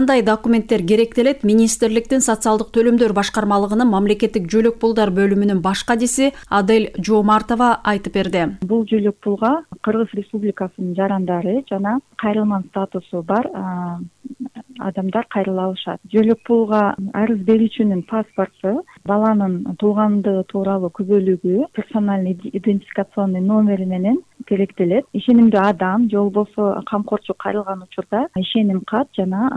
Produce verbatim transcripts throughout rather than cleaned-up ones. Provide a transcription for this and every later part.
Кандай документтер керектелет? Министрликтин социалдык төлөмдөр башкармалыгынын мамлекеттик жөлөк пулдар бөлүмүнүн баш кадиси Адель Жоомартова айтып берди. Бул жөлөк пулга Кыргыз Республикасынын жарандары жана кайрылман статусу бар адамдар кайрыла алышат. Жөлөк пулга арыз берүүчүнүн паспорту, баланын туулгандыгы тууралуу күбөлүгү, персональный идентификационный номери менен керектелет. Ишенимдүү адам же болбосо камкорчу кайрылган учурда ишеним кат жана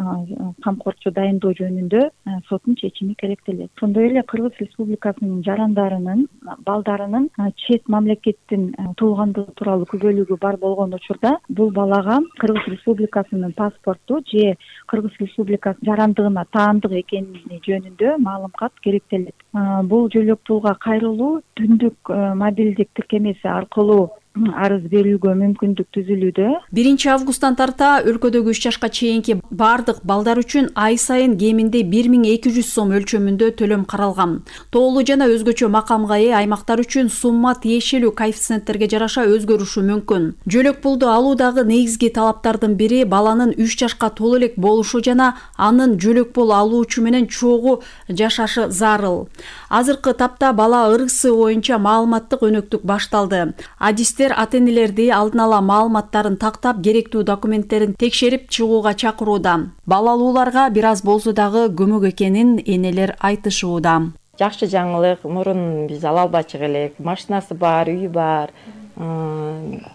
камкорчу дайындоо жөнүндө соттун чечими керектелет. Ошондой эле Кыргыз Республикасынын жарандарынын, балдарынын чет мамлекеттин туулгандыгы тууралуу күбөлүгү бар болгон учурда бул балага Кыргыз Республикасынын паспорту же Кыргыз Республикасы жарандыгына таандык экени жөнүндө маалымат керектелет. Бул жөлөк пулга кайрылуу түндүк мобилдик тиркемеси аркылуу арыз берүүгө мүмкүндүк түзүлүүдө. биринчи августтан тарта өлкөдөгү үч жашка чейинки бардык балдар үчүн ай сайын кеминде бир миң эки жүз сом өлчөмүндө төлөм каралган. Тоолуу жана өзгөчө макамга ээ аймактар үчүн сумма тиешелүү коэффициенттерге жараша өзгөрүшү мүмкүн. Жөлөк пулду алуудагы негизги талаптардын бири баланын үч жашка толо элек болушу жана анын жөлөк пул алуучу менен чогуу жашашы зарыл. Азыркы тапта бала ыргысы боюнча маалыматтык өнөктүк башталды. Адистер ата-энелерди алдын ала маалыматтарын тактап, керектүү документтерин текшерип чыгууга чакырууда. Бала алууларга бир аз болсо дагы көмөк экенин энелер айтышууда. Жакшы жаңылык, мурун биз ала албачу элек, машинасы бар, үйү бар,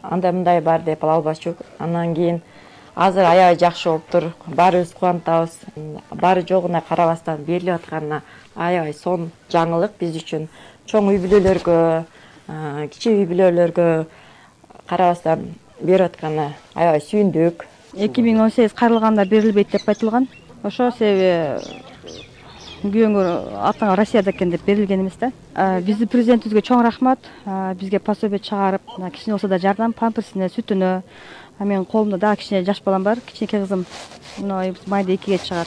андай мындай бар деп ала албачук. Андан кийин азыр аябай жакшы болуптур. Баарыбыз кубанатабыз. Баары жогуна карабастан берилип атканына аябай сонун жаңылык биз үчүн. Чоң үй бүлөлөргө, кичи үй бүлөлөргө карабастан берип атканына аябай сүйүндүк. эки миң он сегиз кайрылганда берилбейт деп айтылган. Ошо себеби күйөөңөр атаңа Россияда экен деп берилген эмес да. Биздин президентибизге чоң рахмат. Бизге пособие чыгарып, кичине болсо да жардам, памперсине, сүтүнө. Менин колумда дагы кичине жаш балам бар, кичинекей кызым. Мына майда экиге чыгат.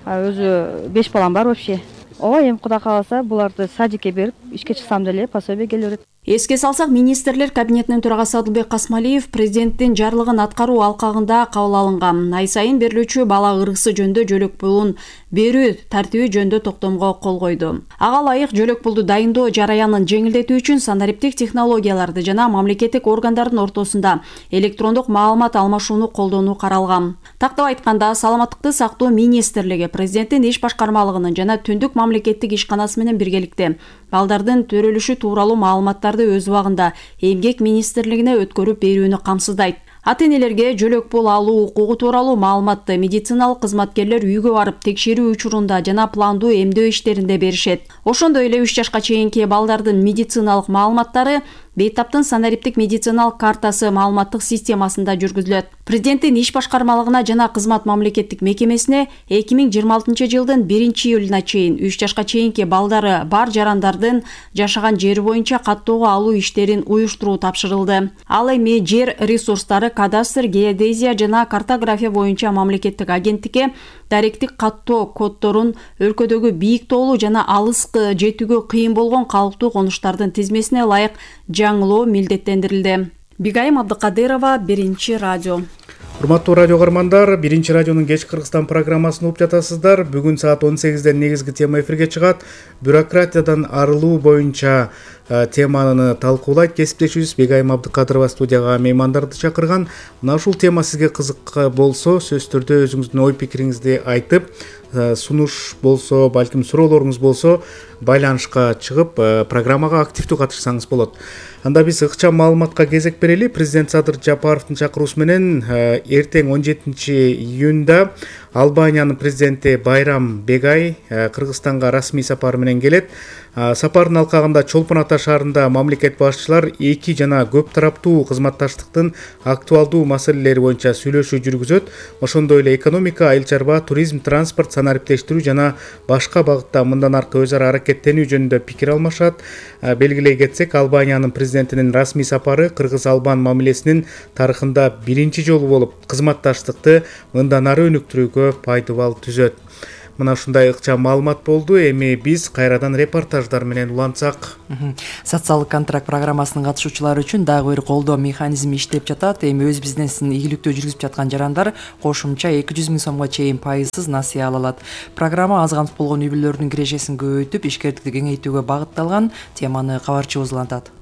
Өзү беш балам бар вообще. Ооба, эми Кудай кааласа буларды садикке берип, ишке чыксам деле пособие келе берет. Эске салсак, министрлер кабинетинин төрагасы Адылбек Касмалиев президенттин жарлыгын аткаруу алкагында кабыл алынган ай сайын берилүүчү бала ыргысы жөнүндө жөлөк пулун берүү тартиби жөнүндө токтомго кол койду. Ага ылайык жөлөк пулду дайындоо жараянын жеңилдетүү үчүн санариптик технологияларды жана мамлекеттик органдардын ортосунда электрондук маалымат алмашууну колдонуу каралган. Тактап айтканда, саламаттыкты сактоо министрлиги президенттин иш башкармалыгынын жана түндүк мамлекеттик ишканасы менен биргеликте балдардын төрөлүшү тууралуу маалыматтарды өз убагында эмгек министрлигине өткөрүп берүүнү камсыздайт. Ата-энелерге жөлөк пул алуу укугу тууралуу маалыматты медициналык кызматкерлер үйгө барып текшерүү учурунда жана пландуу эмдөө иштеринде беришет. Ошондой эле үч жашка чейинки балдардын медициналык маалыматтары бейтаптын санариптик медициналык картасы маалыматтык системасында жүргүзүлөт. Президенттин иш башкармалыгына жана кызмат мамлекеттик мекемесине эки миң жыйырма алтынчы жылдын биринчи июлуна чейин үч жашка чейинки балдары бар жарандардын жашаган жери боюнча каттоого алуу иштерин уюштуруу тапшырылды. Ал эми жер ресурстары, кадастр, геодезия жана картография боюнча мамлекеттик агенттикке даректик каттоо коддорун өлкөдөгү бийик тоолуу жана алыскы жетүүгө кыйын болгон калыптуу конуштардын тизмесине ылайык жаңылоо милдеттендирилди. Бигайым Абдыкадырова, Биринчи радио. Урматтуу радио көрөрмандар, Биринчи радионун кеч Кыргызстан программасын угуп жатасыздар. Бүгүн саат он сегизде негизги тема эфирге чыгат. Бюрократиядан арылуу боюнча теманы талкуулайт кесиптешибиз Бигайым Абдыкадырова студияга меймандарды чакырган. Мына ушул тема сизге кызык болсо, сөзсүз түрдө өзүңүздүн ой пикириңизди айтып, сунуш болсо, балким суроолоруңуз болсо, байланышка чыгып, программага активдүү катышсаңыз болот. Анда биз ыкчам маалыматка кезек берели. Президент Садыр Жапаровдун чакыруусу менен эртең он жетинчи июнда Албаниянын президенти Байрам Бегай Кыргызстанга расмий сапар менен келет. Сапардын алкагында Чолпон Ата шаарында мамлекет башчылар эки жана көп тараптуу кызматташтыктын актуалдуу маселелери боюнча сүйлөшүү жүргүзөт. Ошондой эле экономика, айыл чарба, туризм, транспорт, санариптештирүү жана башка багытта мындан аркы өз ара аракеттенүү жөнүндө пикир алмашат. Белгилей кетсек, Албаниянын президентинин расмий сапары кыргыз-албан мамилесинин тарыхында биринчи жолу болуп, кызматташтыкты мындан ары өнүктүрүүгө пайдабал түзөт. Мына ушундай ыкчам маалымат болду. Эми биз кайрадан репортаждар менен улантсак. Социалдык контракт программасынын катышуучулары үчүн дагы бир колдоо механизми иштеп жатат. Эми өз бизнесин ийгиликтүү жүргүзүп жаткан жарандар кошумча эки жүз миң сомго чейин пайызсыз насыя ала алат. Программа аз камсыз болгон үй бүлөлөрдүн кирешесин көбөйтүп, ишкердикти кеңейтүүгө багытталган. Теманы кабарчыбыз улантат.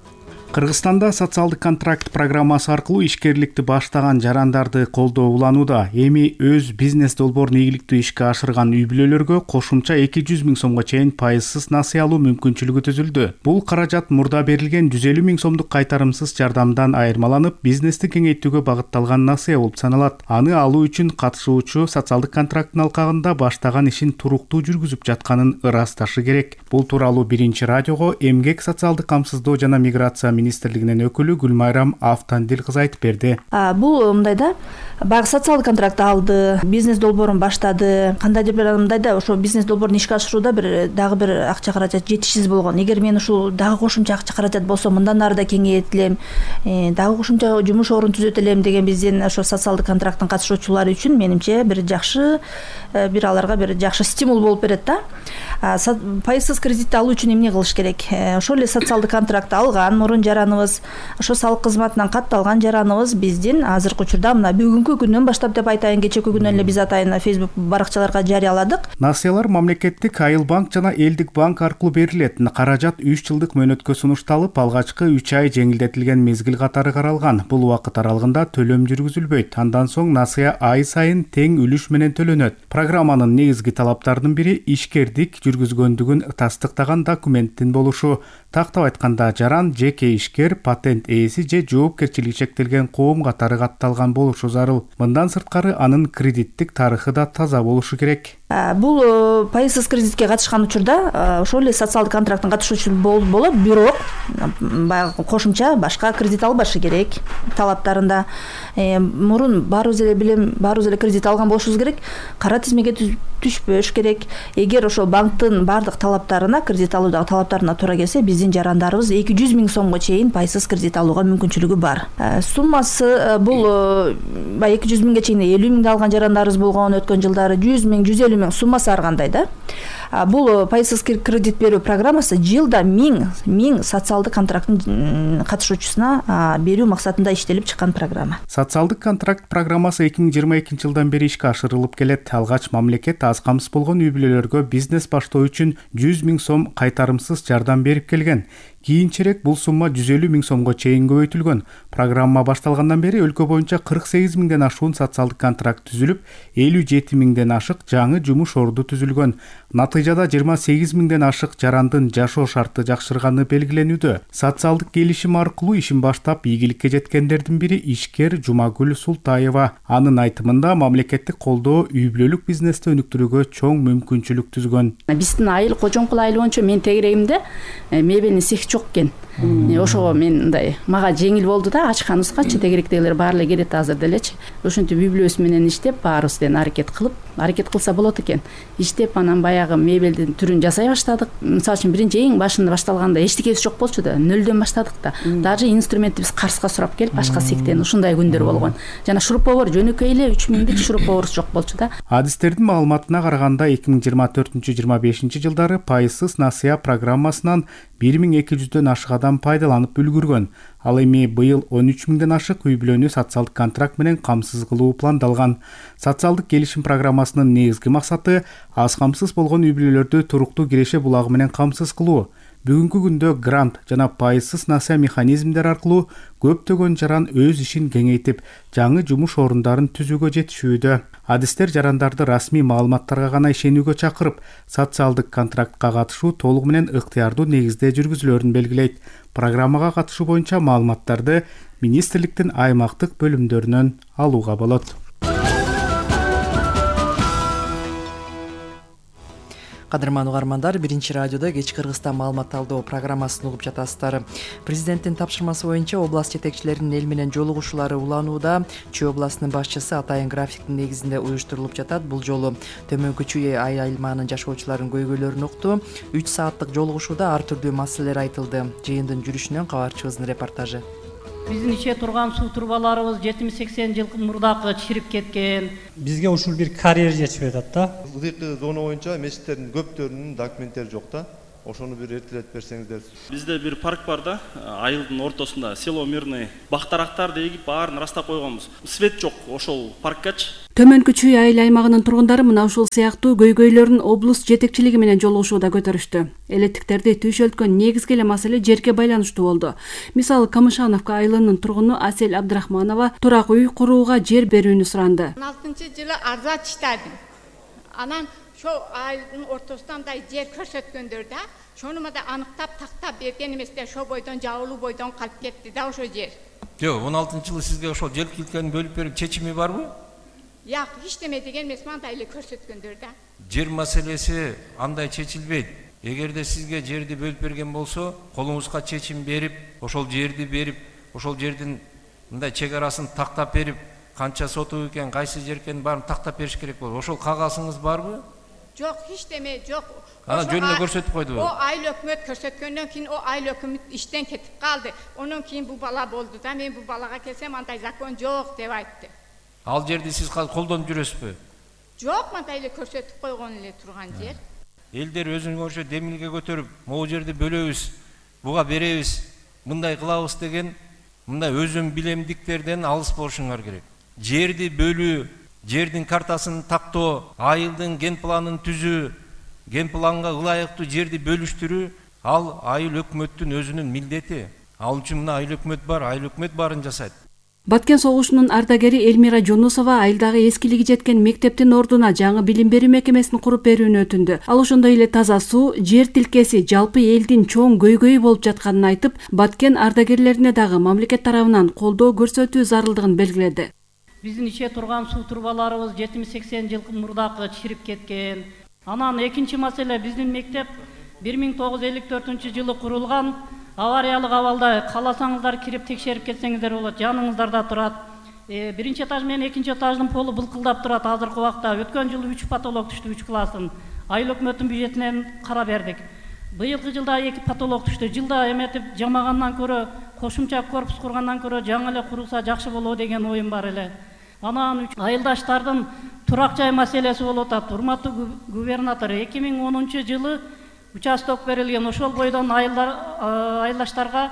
Кыргызстанда социалдык контракт программасы аркылуу ишкерликти баштаган жарандарды колдоо уланууда. Эми өз бизнес долбоорун ийгиликтүү ишке ашырган үй бүлөлөргө кошумча эки жүз миң сомго чейин пайызсыз насыя алуу мүмкүнчүлүгү түзүлдү. Бул каражат мурда берилген жүз элүү миң сомдук кайтарымсыз жардамдан айырмаланып, бизнести кеңейтүүгө багытталган насыя болуп саналат. Аны алуу үчүн катышуучу социалдык контракттын алкагында баштаган ишин туруктуу жүргүзүп жатканын ырасташы керек. Бул тууралуу Биринчи радиого эмгек, социалдык камсыздоо жана миграция министрлигинин өкүлү Гүлмайрам Автандил кызы айтып берди. Бул мындайда баягы социалдык контракт алды, бизнес долбоорун баштады. Кандайдыр бир мындайда ошо бизнес долбоорун ишке ашырууда бир дагы бир акча каражат жетишсиз болгон. Эгер мен ушул дагы кошумча акча каражат болсо, мындан ары да кеңейт элем, дагы кошумча жумуш орун түзөт элем деген биздин ошо социалдык контракттын катышуучулары үчүн менимче бир жакшы, бир аларга бир жакшы стимул болуп берет да. Пайызсыз кредит алуу үчүн эмне кылыш керек? Ошол эле социалдык контракт алган мурун жараныбыз, ошо салык кызматынан катталган жараныбыз биздин азыркы учурда мына бүгүнкү күндөн баштап деп айтайын, кечээки күнөн эле биз атайын Facebook баракчаларга жарыяладык. Насыялар мамлекеттик Айыл банк жана Элдик банк аркылуу берилет. Каражат үч жылдык мөөнөткө сунушталып, алгачкы үч ай жеңилдетилген мезгил катары каралган. Бул убакыт аралыгында төлөм жүргүзүлбөйт. Андан соң насыя ай сайын тең үлүш менен төлөнөт. Программанын негизги талаптарынын бири ишкердик жүргүзгөндүгүн тастыктаган документтин болушу. Тактап айтканда, жаран жеке ишкер, патент ээси же жоопкерчилиги чектелген коом катары катталган болушу зарыл. Мындан сырткары анын кредиттик тарыхы да таза болушу керек. Бул пайызсыз кредитке катышкан учурда ошол эле социалдык контракттын катышуучусу болот, бирок баягы кошумча башка кредит албашы керек талаптарында. Мурун баарыбыз эле билем, баарыбыз эле кредит алган болушубуз керек. Кара тизмеге түшпөш керек. Эгер ошол банктын бардык талаптарына, кредит алуудагы талаптарына туура келсе, биздин жарандарыбыз эки жүз миң сомго чейин пайызсыз кредит алууга мүмкүнчүлүгү бар. Суммасы бул баягы эки жүз миңге чейин элүү миңде алган жарандарыбыз болгон, өткөн жылдары жүз миң, жүз элүү миң суммасы ар кандай да. Бул пайызсыз кредит берүү программасы жылда миң миң социалдык контракттын катышуучусуна берүү максатында иштелип чыккан программа. Социалдык контракт программасы эки миң жыйырма экинчи жылдан бери ишке ашырылып келет. Алгач мамлекет аз камсыз болгон үй бүлөлөргө бизнес баштоо үчүн жүз миң сом кайтарымсыз жардам берип келген. Кийинчерээк бул сумма жүз элүү миң сомго чейин көбөйтүлгөн. Программа башталгандан бери өлкө боюнча кырк сегиз миңден ашуун социалдык контракт түзүлүп, элүү жети миңден ашык жаңы жумуш орду түзүлгөн. Натыйжада жыйырма сегиз миңден ашык жарандын жашоо шарты жакшырганы белгиленүүдө. Социалдык келишим аркылуу ишин баштап ийгиликке жеткендердин бири ишкер Жумагүл Султаева. Анын айтымында мамлекеттик колдоо үй бүлөлүк бизнести өнүктүрүүгө чоң мүмкүнчүлүк түзгөн. Биздин айыл Кожоңкул айылы боюнча мен тегерегимде мебелин цех жок экен. Ошого мен мындай мага жеңил болду да, ачканыбызгачы тегеректегилер баары эле келет азыр делечи. Ошентип үй бүлөбүз менен иштеп, баарыбызден аракет кылып, аракет кылса болот экен. Иштеп анан баягы мебелдин түрүн жасай баштадык. Мисалы үчүн биринчи эң башында башталганда эчтекебиз жок болчу да, нөлдөн баштадык да. Даже инструментти биз Карска сурап келип, башка сектен ушундай күндөр болгон. Жана шуруповер жөнөкөй эле үч миңдик шуруповерибиз жок болчу да. Адистердин маалыматына караганда эки миң жыйырма төртүнчү жыйырма бешинчи жылдары пайызсыз насыя программасынан бир миң эки жүздөн ашык адам пайдаланып үлгүргөн. Ал эми быйыл он үч миңден ашык үй бүлөнү социалдык контракт менен камсыз кылуу пландалган. Социалдык келишим программасынын негизги максаты аз камсыз болгон үй бүлөлөрдү туруктуу киреше булагы менен камсыз кылуу. Бүгүнкү күндө грант жана пайызсыз насыя механизмдер аркылуу көптөгөн жаран өз ишин кеңейтип, жаңы жумуш орундарын түзүүгө жетишүүдө. Адистер жарандарды расмий маалыматтарга гана ишенүүгө чакырып, социалдык контрактка катышуу толугу менен ыктыярдуу негизде жүргүзүлөрүн белгилейт. Программага катышуу боюнча маалыматтарды министрликтин аймактык бөлүмдөрүнөн алууга болот. Кадырман угармандар, Биринчи радиодо кеч Кыргызстан маалымат талдоо программасын угуп жатасыздар. Президенттин тапшырмасы боюнча область жетекчилеринин эл менен жолугушуулары уланууда. Чүй областынын башчысы атайын графиктин негизинде уюштурулуп жатат. Бул жолу Төмөнкү Чүй айылманынын жашоочуларынын көйгөйлөрүн укту. үч сааттык жолугушууда ар түрдүү маселелер айтылды. Жыйындын жүрүшүнөн кабарчыбыздын репортажы. Биздин иче турган суу трубаларыбыз жетимиш сексен жыл мурдакы чирип кеткен. Бизге ушул бир карьер жетишип атат да. Ылдыйкы зона боюнча мечиттердин көптөрүнүн документтери жок да. Ошону бир эртелетип берсеңиздер. Бизде бир парк бар да, айылдын ортосунда село Мирный. Бактарактарды эгип баарын растап койгонбуз. Свет жок ошол парккачы. Төмөнкү Чүй айыл аймагынын тургундары мына ушул сыяктуу көйгөйлөрүн облус жетекчилиги менен жолугушууда көтөрүштү. Элеттиктерди түйшөлткөн негизги эле маселе жерге байланыштуу болду. Мисалы Камышановка айылынын тургуну Асель Абдрахманова турак үй курууга жер берүүнү суранды. он алтынчы жылы арза чыштадым. Анан ошо айылдын ортосунда андай жер көрсөткөндөр да, шону да аныктап тактап берген эместе, ошо бойдон жабылуу бойдон калып кетти да ошо жер. Жок, он алтынчы жылы сизге ошол жер килкенин бөлүп берип чечими барбы? Жок, эчтеме деген эмес, мындай эле көрсөткөндөр да. Жер маселеси андай чечилбейт. Эгерде сизге жерди бөлүп берген болсо, колуңузга чечим берип, ошол жерди берип, ошол жердин мындай чек арасын тактап берип, канча соту экен, кайсы жер экенин баарын тактап бериш керек болот. Ошол кагазыңыз барбы? Жок, эчтеме жок. Ана жөнүнө көрсөтүп койдубу? О айыл өкмөт көрсөткөндөн кийин о айыл өкмөт иштен кетип калды. Онон кийин бул бала болду да, мен бул балага келсем андай закон жок деп айтты. Ал жерди сиз колдонуп жүрөсүзбү? Жок, мындай эле көрсөтүп койгон эле турган жер. Элдер өзүнө ошо демилге көтөрүп, могу жерди бөлөбүз, буга беребиз, мындай кылабыз деген мындай өзүм билемдиктерден алыс болушуңар керек. Жерди бөлүү, жердин картасын тактоо, айылдын ген планын түзүү, ген планга ылайыктуу жерди бөлүштүрүү, ал айыл өкмөттүн өзүнүн милдети. Ал үчүн мына айыл өкмөт бар, айыл өкмөт баарын жасайт. Баткен согушунун ардагери Элмира Жунусова айылдагы эскилиги жеткен мектептин ордуна жаңы билим берүү мекемесин куруп берүүнү өтүндү. Ал ошондой эле таза суу, жер тилкеси жалпы элдин чоң көйгөйү болуп жатканын айтып, Баткен ардагерлерине дагы мамлекет тарабынан колдоо көрсөтүү зарылдыгын белгиледи. Биздин иче турган суу трубаларыбыз жетимиш сексен жыл мурдакы чирип кеткен. Анан экинчи маселе, биздин мектеп бир миң тогуз жүз элүү төртүнчү жылы курулган. Авариялык абалда, кааласаңыздар кирип текшерип кетсеңиздер болот, жаныңыздарда турат. Биринчи этаж менен экинчи этаждын полу былкылдап турат азыркы убакта. Өткөн жылы үч потолок түштү, үч класстын. Айыл өкмөттүн бюджетинен кара бердик. Быйылкы жылда эки потолок түштү. Жылда эметип жамагандан көрө, кошумча корпус кургандан көрө жаңы эле курулса жакшы болот деген оюм бар эле. Анан айылдаштардын турак жай маселеси болуп атат. Урматтуу губернатор, эки миң онунчу жылы участок берилген, ошол бойдон айылдаштарга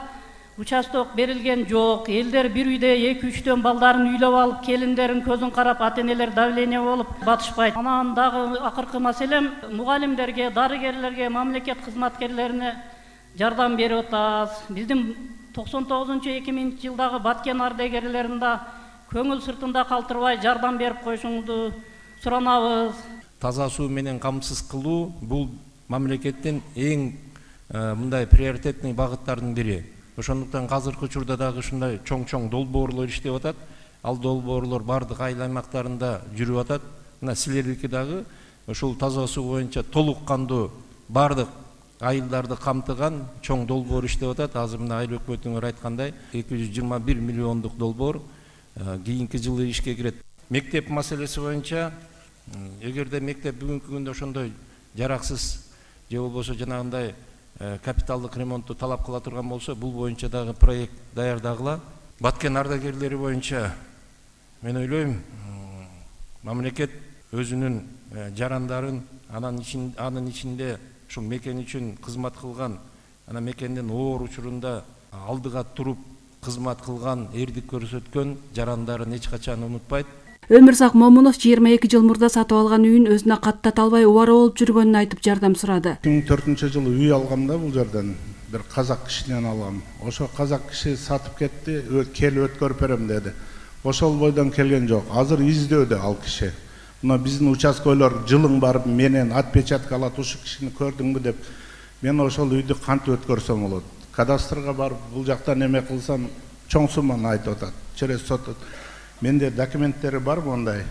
участок берилген жок. Элдер бир үйдө эки үчтөн балдарын үйлөп алып, келиндерин көзүн карап, ата-энелер давление болуп батышпайт. Анан дагы акыркы маселем, мугалимдерге, дарыгерлерге, мамлекет кызматкерлерине жардам берип атабыз. Биздин токсон тогузунчу эки миңинчи жылдагы Баткен ардагерлеринде көңүл сыртында калтырбай жардам берип коюшуңузду суранабыз. Таза суу менен камсыз кылуу бул мамлекеттин эң мындай приоритетный багыттардын бири. Ошондуктан азыркы учурда дагы ушундай чоң-чоң долбоорлор иштеп атат. Ал долбоорлор бардык айыл аймактарында жүрүп атат. Мына силердики дагы ушул таза суу боюнча толук кандуу бардык айылдарды камтыган чоң долбоор иштеп атат. Азыр мына айыл өкмөтүңөр айткандай эки жүз жыйырма бир миллиондук долбоор кийинки жылы ишке кирет. Мектеп маселеси боюнча, эгерде мектеп бүгүнкү күндө ошондой жараксыз же болбосо жанагындай капиталдык ремонтту талап кыла турган болсо, бул боюнча дагы проект даярдагыла. Баткен ардагерлери боюнча мен ойлойм, мамлекет өзүнүн жарандарын анын ичинде анын ичинде ушул мекен үчүн кызмат кылган, ана мекендин оор учурунда алдыга туруп кызмат кылган, эрдик көрсөткөн жарандарын эч качан унутпайт. Өмүрзак Момунов жыйырма эки жыл мурда сатып алган үйүн өзүнө каттата албай убара болуп жүргөнүн айтып жардам сурады. эки миң төртүнчү жылы үй алгамда бул жерден бир казак кишинен алгам. Ошо казак киши сатып кетти, келип өткөрүп берем деди. Ошол бойдон келген жок. Азыр издөөдө ал киши. Мына биздин участкалар жылың барып менен отпечатка алат, ушу кишини көрдүңбү деп. Мен ошол үйдү кантип өткөрсөм болот? Кадастрга барып бул жактан эме кылсам чоң сумманы айтып атат. Через сот. Менде документтери бар мондай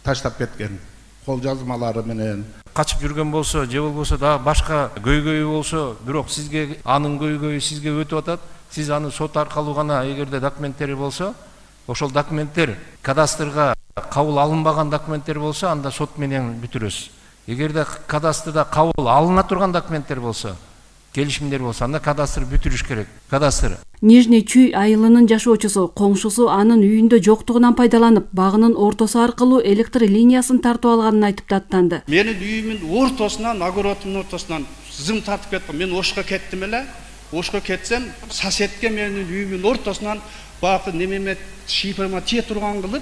таштап кеткен, кол жазмалары менен. Качып жүргөн болсо, же болбосо дагы башка көйгөйү болсо, бирок сизге анын көйгөйү сизге өтүп атат. Сиз аны сот аркылуу гана эгерде документтери болсо, ошол документтер кадастрга кабыл алынбаган документтер болсо, анда сот менен бүтүрөсүз. Эгерде кадастрда кабыл алына турган документтер болсо, келишимдер болсо анда кадастр бүтүрүш керек. Кадастр Нижний Чүй айылынын жашоочусу коңшусу анын үйүндө жоктугунан пайдаланып, багынын ортосу аркылуу электр линиясын тартып алганын айтып даттанды. Менин үйүмдүн ортосунан, огородумдун ортосунан зым тартып кеткен. Мен ошко кеттим эле. Ошко кетсем, соседке менин үйүмдүн ортосунан багы немеме шипама тие турган кылып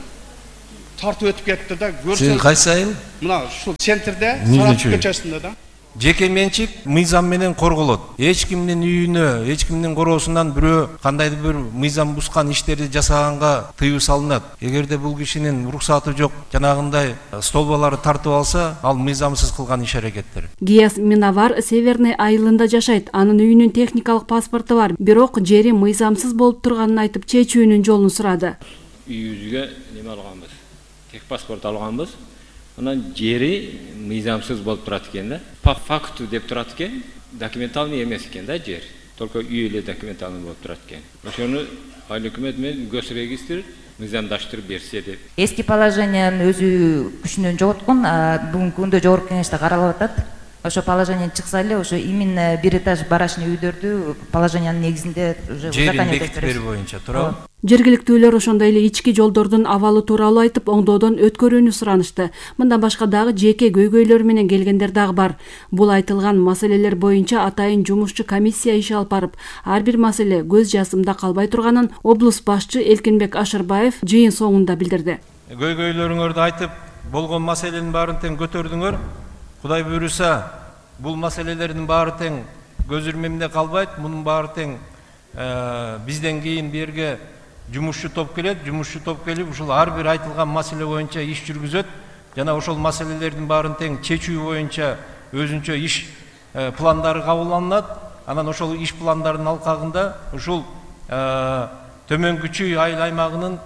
тартып өтүп кетти да. Сен кайсы айыл? Мына ушул центрде, Саратов көчөсүндө да. Жеке менчик мыйзам менен корголот. Эч кимдин үйүнө, эч кимдин короосунан бирөө кандайдыр бир мыйзам бускан иштерди жасаганга тыюу салынат. Эгерде бул кишинин уруксаты жок, жанагындай столбаларды тартып алса, ал мыйзамсыз кылган иш аракеттер. Гияс Минавар Северный айылында жашайт. Анын үйүнүн техникалык паспорту бар, бирок жери мыйзамсыз болуп турганын айтып, чечүүнүн жолун сурады. Үйүбүзгө неме алганбыз? Тех паспорт алганбыз. Анан жери мыйзамсыз болуп турат экен да. По факту деп турат экен, документальный эмес экен да жер. Только үй эле документальный болуп турат экен. Ошону айыл өкмөт менен госрегистр мыйзамдаштырып берсе деп. Эски положениянын өзү күчүнөн жоготкон, бүгүнкү күндө жогорку кеңеште каралып атат. Ошо положение чыкса эле, ошо именно бир этаж барачный үйдөрдү положениянын негизинде уже узаконение берүү боюнча туурабы? Жергиликтүүлөр ошондой эле ички жолдордун абалы тууралуу айтып, оңдоодон өткөрүүнү суранышты. Мындан башка дагы жеке көйгөйлөр менен келгендер дагы бар. Бул айтылган маселелер боюнча атайын жумушчу комиссия иш алып барып, ар бир маселе көз жазымда калбай турганын облус башчы Элкинбек Ашырбаев жыйын соңунда билдирди. Көйгөйлөрүңөрдү айтып, болгон маселенин баарын тең көтөрдүңөр. Кудай буйруса, бул маселелердин баары тең көз ирмемде калбайт. Мунун баары тең бизден кийин берге жумушчу топ келет. Жумушчу топ келип, ушул ар бир айтылган маселе боюнча иш жүргүзөт. Жана ошол маселелердин баарын тең чечүү боюнча өзүнчө иш пландары кабылданат. Анан ошол иш пландардын алкагында ушул төмөнкү Чүй айыл аймагынын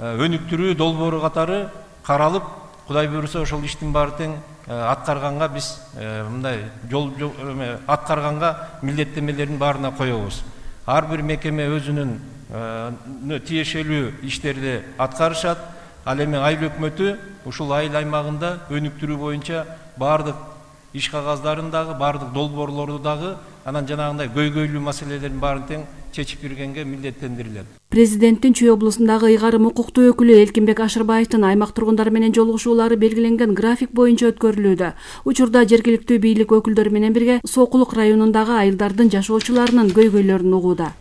өнүктүрүү долбоору катары каралып, Кудай буйруса ошол иштин баары тең аткарганга биз мындай жол аткарганга милдеттемелердин баарына коебуз. Ар бир мекеме өзүнүн тиешелүү иштерди аткарышат. Ал эми айыл өкмөтү ушул айыл аймагында өнүктүрүү боюнча баардык иш кагаздарын дагы, баардык долбоорлорду дагы, анан жанагындай көйгөйлүү маселелердин баарын тең чечип бергенге милдеттендирилет. Президенттин Чүй облусундагы ыйгарым укуктуу өкүлү Элкинбек Ашырбаевдин аймак тургундары менен жолугушуулары белгиленген график боюнча өткөрүлүүдө. Учурда жергиликтүү бийлик өкүлдөрү менен бирге Сокулук районундагы айылдардын жашоочуларынын көйгөйлөрүн угууда.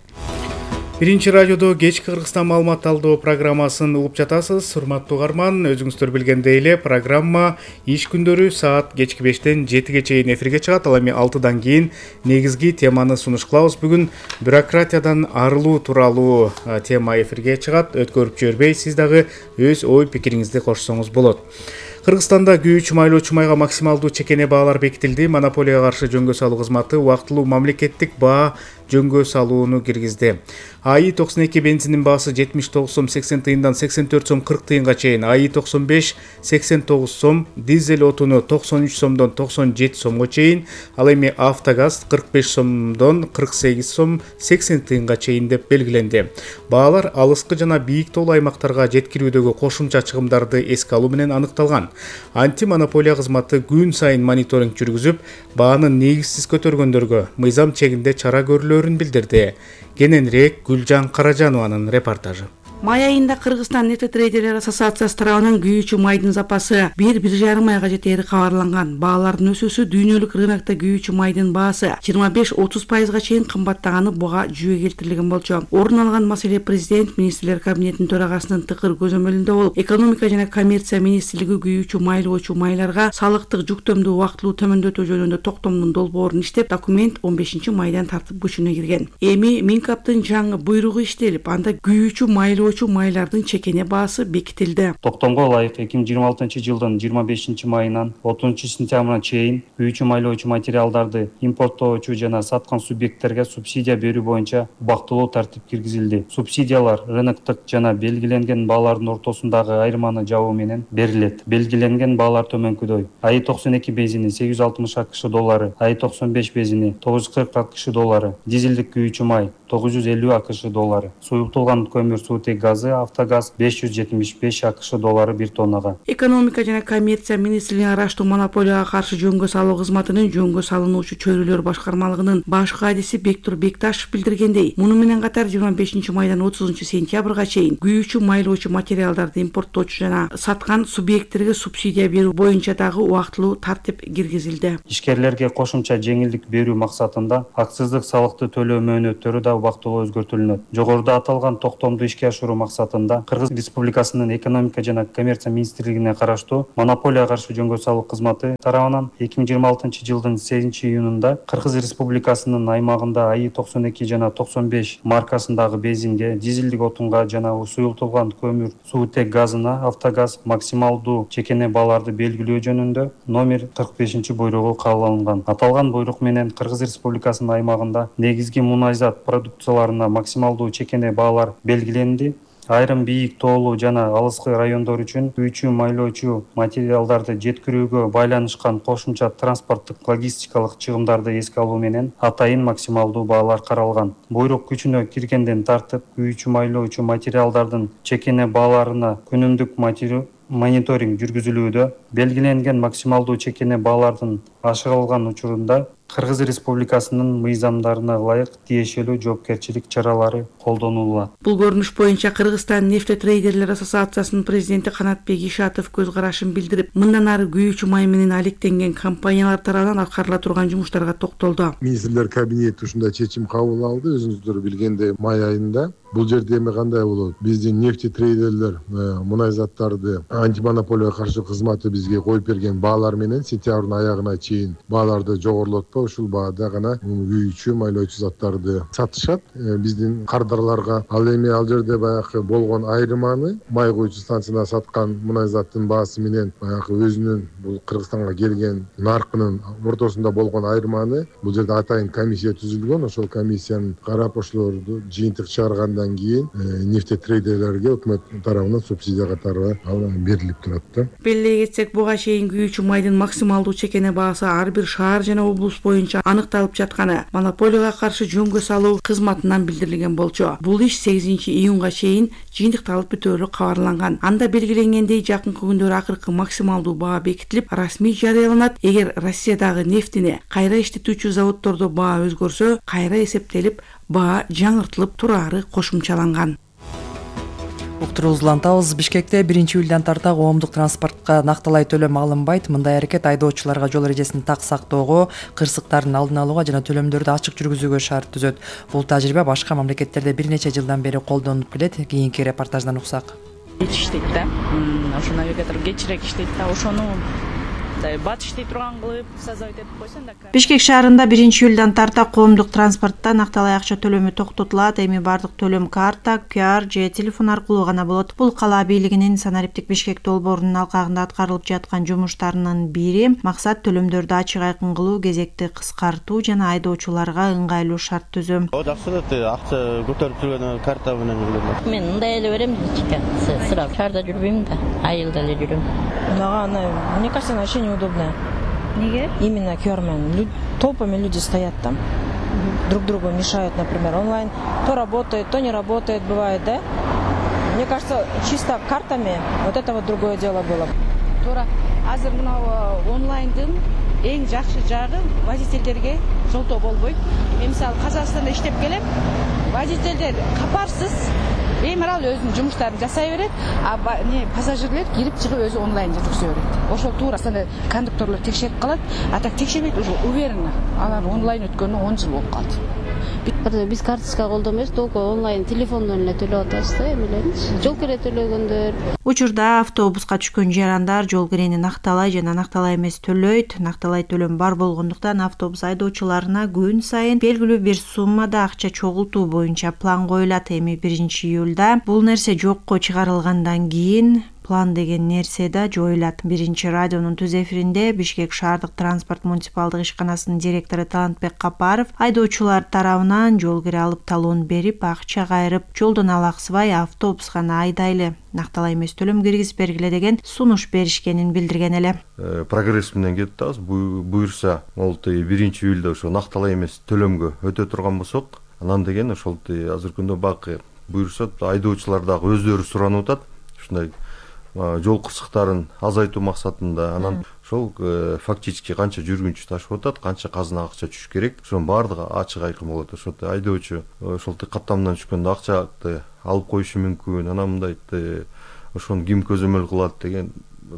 Биринчи радиодо кечки Кыргызстан маалымат талдоо программасын угуп жатасыз. Урматтуу угарман, өзүңүздөр билгендей эле программа иш күндөрү саат кечки бештен жетиге чейин эфирге чыгат. Ал эми алтыдан кийин негизги теманы сунуш кылабыз. Бүгүн бюрократиядан арылуу тууралуу тема эфирге чыгат. Өткөрүп жибербей, сиз дагы өз ой пикириңизди кошсоңуз болот. Кыргызстанда күйүүчү майлоочу майга максималдуу чекене баалар бекитилди. Монополияга каршы жөнгө салуу кызматы убактылуу мамлекеттик баа жөнгө салууну киргизди. АИ токсон эки бензиндин баасы жетимиш тогуз сом сексен тыйындан сексен төрт сом кырк тыйынга чейин, АИ токсон беш сексен тогуз сом, дизель отуну токсон үч сомдон токсон жети сомго чейин, ал эми автогаз кырк беш сомдон кырк сегиз сом сексен тыйынга чейин деп белгиленди. Баалар алыскы жана бийик тоолуу аймактарга жеткирүүдөгү кошумча чыгымдарды эске алуу менен аныкталган. Антимонополия кызматы күн сайын мониторинг жүргүзүп, баанын негизсиз көтөргөндөргө мыйзам чегинде чара көрүлөөрүн билдирди. Кененирээк Гүлжан Каражанованын репортажы. Май айында Кыргызстан нефтетрейдерлер ассоциациясы тарабынан күйүүчү майдын запасы бир бир жарым айга жетери кабарланган. Баалардын өсүүсү дүйнөлүк рынокто күйүүчү майдын баасы жыйырма беш отуз пайызга чейин кымбаттаганы буга жүйө келтирилген болчу. Орун алган маселе президент министрлер кабинетинин төрагасынын тыкыр көзөмөлүндө болуп, экономика жана коммерция министрлиги күйүүчү майлоочу майларга салыктык жүктөмдү убактылуу төмөндөтүү жөнүндө токтомдун долбоорун иштеп, документ он бешинчи майдан тартып күчүнө кирген. Эми Минкаптын жаңы буйругу иштелип, анда күйүүчү майлоо майлардын чекене баасы бекитилди. Токтомго ылайык эки миң жыйырма алтынчы жылдын жыйырма бешинчи майынан отузунчу сентябрына чейин күйүүчү майлоочу материалдарды импорттоочу жана саткан субъекттерге субсидия берүү боюнча убактылуу тартип киргизилди. Субсидиялар рыноктук жана белгиленген баалардын ортосундагы айырманы жабуу менен берилет. Белгиленген баалар төмөнкүдөй: АИ токсон эки бензини сегиз жүз алтымыш акш доллары, АИ токсон беш бензини тогуз жүз кырк акш доллары, дизелдик күйүүчү май тогуз жүз элүү акш доллары, суюктулган көмүр суутек газы Автогаз беш жүз жетимиш беш акш доллары бир тоннага. Экономика жана коммерция министрлигинин араштуу монополияга каршы жөнгө салуу кызматынын жөнгө салынуучу чөйрөлөр башкармалыгынын баш кадиси Бектур Бекташев билдиргендей, муну менен катар жыйырма бешинчи майдан отузунчу сентябрга чейин күйүүчү майлоочу материалдарды импорттоочу жана саткан субъекттерге субсидия берүү боюнча дагы убактылуу тартип киргизилди. Ишкерлерге кошумча жеңилдик берүү максатында акциздик салыкты төлөө мөөнөттөрү да убактылуу өзгөртүлүнөт. Жогоруда аталган токтомду ишке ашыруу максатында Кыргыз Республикасынын экономика жана коммерция министрлигине караштуу монополияга каршы жөнгө салуу кызматы тарабынан эки миң жыйырма алтынчы жылдын сегизинчи июнунда Кыргыз Республикасынын аймагында АИ токсон эки жана токсон беш маркасындагы бензинге, дизелдик отунга жана суюлтулган көмүр суутек газына Автогаз максималдуу чекене бааларды белгилөө жөнүндө номер кырк бешинчи буйругу кабыл алынган. Аталган буйрук менен Кыргыз Республикасынын аймагында негизги мунайзат продукцияларына максималдуу чекене баалар белгиленди. Айрым бийик тоолуу жана алыскы райондор үчүн күйүүчү майлоочу материалдарды жеткирүүгө байланышкан кошумча транспорттук логистикалык чыгымдарды эске алуу менен атайын максималдуу баалар каралган. Буйрук күчүнө киргенден тартып күйүүчү майлоочу материалдардын чекене бааларына күнүмдүк мониторинг жүргүзүлүүдө. Белгиленген максималдуу чекене баалардын ашырылган учурунда Кыргыз Республикасынын мыйзамдарына ылайык тиешелүү жоопкерчилик чаралары колдонулат. Бул көрүнүш боюнча Кыргызстан нефтетрейдерлер ассоциациясынын президенти Канатбек Ишатов көз карашын билдирип, мындан ары күйүүчү май менен алектенген компаниялар тарабынан аткарыла турган жумуштарга токтолду. Министрлер кабинети ушундай чечим кабыл алды. Өзүңүздөр билгендей, май айында бул жерде эми кандай болот? Биздин нефтетрейдерлер мунай заттарды антимонополияга каршы кызматы бизге коюп берген баалар менен сентябрдын аягына чейин бааларды жогорулатпай ушул баада гана күйүүчү майлоочу заттарды сатышат. Биздин кардарларга ал эми ал жерде баягы болгон айырманы май куюучу станцияда саткан мунай заттын баасы менен баягы өзүнүн бул Кыргызстанга келген наркынын ортосунда болгон айырманы бул жерде атайын комиссия түзүлгөн. Ошол комиссиянын карап ошолорду жыйынтык чыгаргандан кийин нефтетрейдерлерге өкмөт тарабынан субсидия катары берилип турат да. Белгилей кетсек, буга чейин күйүүчү майдын максималдуу чекене баасы ар бир шаар жана облус боюнча аныкталып жатканы монополияга каршы жөнгө салуу кызматынан билдирилген болчу. Бул иш сегизинчи июнга чейин жыйынтыкталып бүтөөрү кабарланган. Анда белгиленгендей жакынкы күндөрү акыркы максималдуу баа бекитилип, расмий жарыяланат. Эгер Россиядагы нефтини кайра иштетүүчү заводдордо баа өзгөрсө, кайра эсептелип, баа жаңыртылып турары кошумчаланган. Уктуруубузду улантабыз. Бишкекте биринчи июлдан тарта коомдук транспортко накталай төлөм алынбайт. Мындай аракет айдоочуларга жол эрежесин так сактоого, кырсыктардын алдын алууга жана төлөмдөрдү ачык жүргүзүүгө шарт түзөт. Бул тажрыйба башка мамлекеттерде бир нече жылдан бери колдонулуп келет. Кийинки репортаждан уксак. Кеч иштейт да. Ошо навигатор кечирээк иштейт да. Ошону бат иштей турган кылып создавать этип койсоң да. Бишкек шаарында биринчи июлдан тарта коомдук транспортто накталай акча төлөмү токтотулат. Эми бардык төлөм карта, ку ар же телефон аркылуу гана болот. Бул кала бийлигинин санариптик Бишкек долбоорунун алкагында аткарылып жаткан жумуштарынын бири. Максат төлөмдөрдү ачык айкын кылуу, кезекти кыскартуу жана айдоочуларга ыңгайлуу шарт түзүү. О, жакшы эле, акча көтөрүп жүргөн карта менен жүргөн. Мен мындай эле берем, сырап шаарда жүрбөйм да, айылда эле жүрөм. Мага мне кажется, вообще неудобно. Неге? Именно ку ар менен толпами люди стоят там, друг другу мешают, например, онлайн. То работает, то не работает, бывает, да? Мне кажется, чисто картами вот это вот другое дело было. Туура азыр мына онлайндын эң жакшы жагы водительдерге жолтоо болбойт. Мен мисалы Казакстанда иштеп келем, водительдер капарсыз беймарал өзүнүн жумуштарын жасай берет, а не пассажирлер кирип чыгып өзү онлайн жүргүзө берет. Ошол туура кондукторлор текшерип калат, а так текшербейт, уже уверенно. Алар онлайн өткөнүнө он жыл болуп калды. Биз карточка колдонбойбуз, только онлайн телефондон эле төлөп атабыз да, эмелерин. Жол кире төлөгөндөр. Учурда автобуска түшкөн жарандар жол кирени накталай жана накталай эмес төлөйт. Накталай төлөм бар болгондуктан автобус айдоочуларына күн сайын белгилүү бир суммада акча чогултуу боюнча план коюлат. Эми биринчи июлда бул нерсе жокко чыгарылгандан кийин план деген нерсе да жоюлат. Биринчи радионун түз эфиринде Бишкек шаардык транспорт муниципалдык ишканасынын директору Талантбек Капаров айдоочулар тарабынан жол кире алып талон берип, акча кайрып, жолдон алаксыбай автобус гана айдайлы, накталай эмес төлөм киргизип бергиле деген сунуш беришкенин билдирген эле. Прогресс менен кетип атабыз. Буюрса, ол биринчи июлда ошо накталай эмес төлөмгө өтө турган болсок, анан деген ошол азыркы күндө бак буюрса айдоочулар дагы өздөрү суранып атат ушундай жол кырсыктарын азайтуу максатында. Анан ошол фактически канча жүргүнчү ташып атат, канча казына акча түшүш керек, ошонун баардыгы ачык айкын болот. Ошол айдоочу ошол каттамдан түшкөндө акчаны алып коюшу мүмкүн, анан мындай ошону ким көзөмөл кылат деген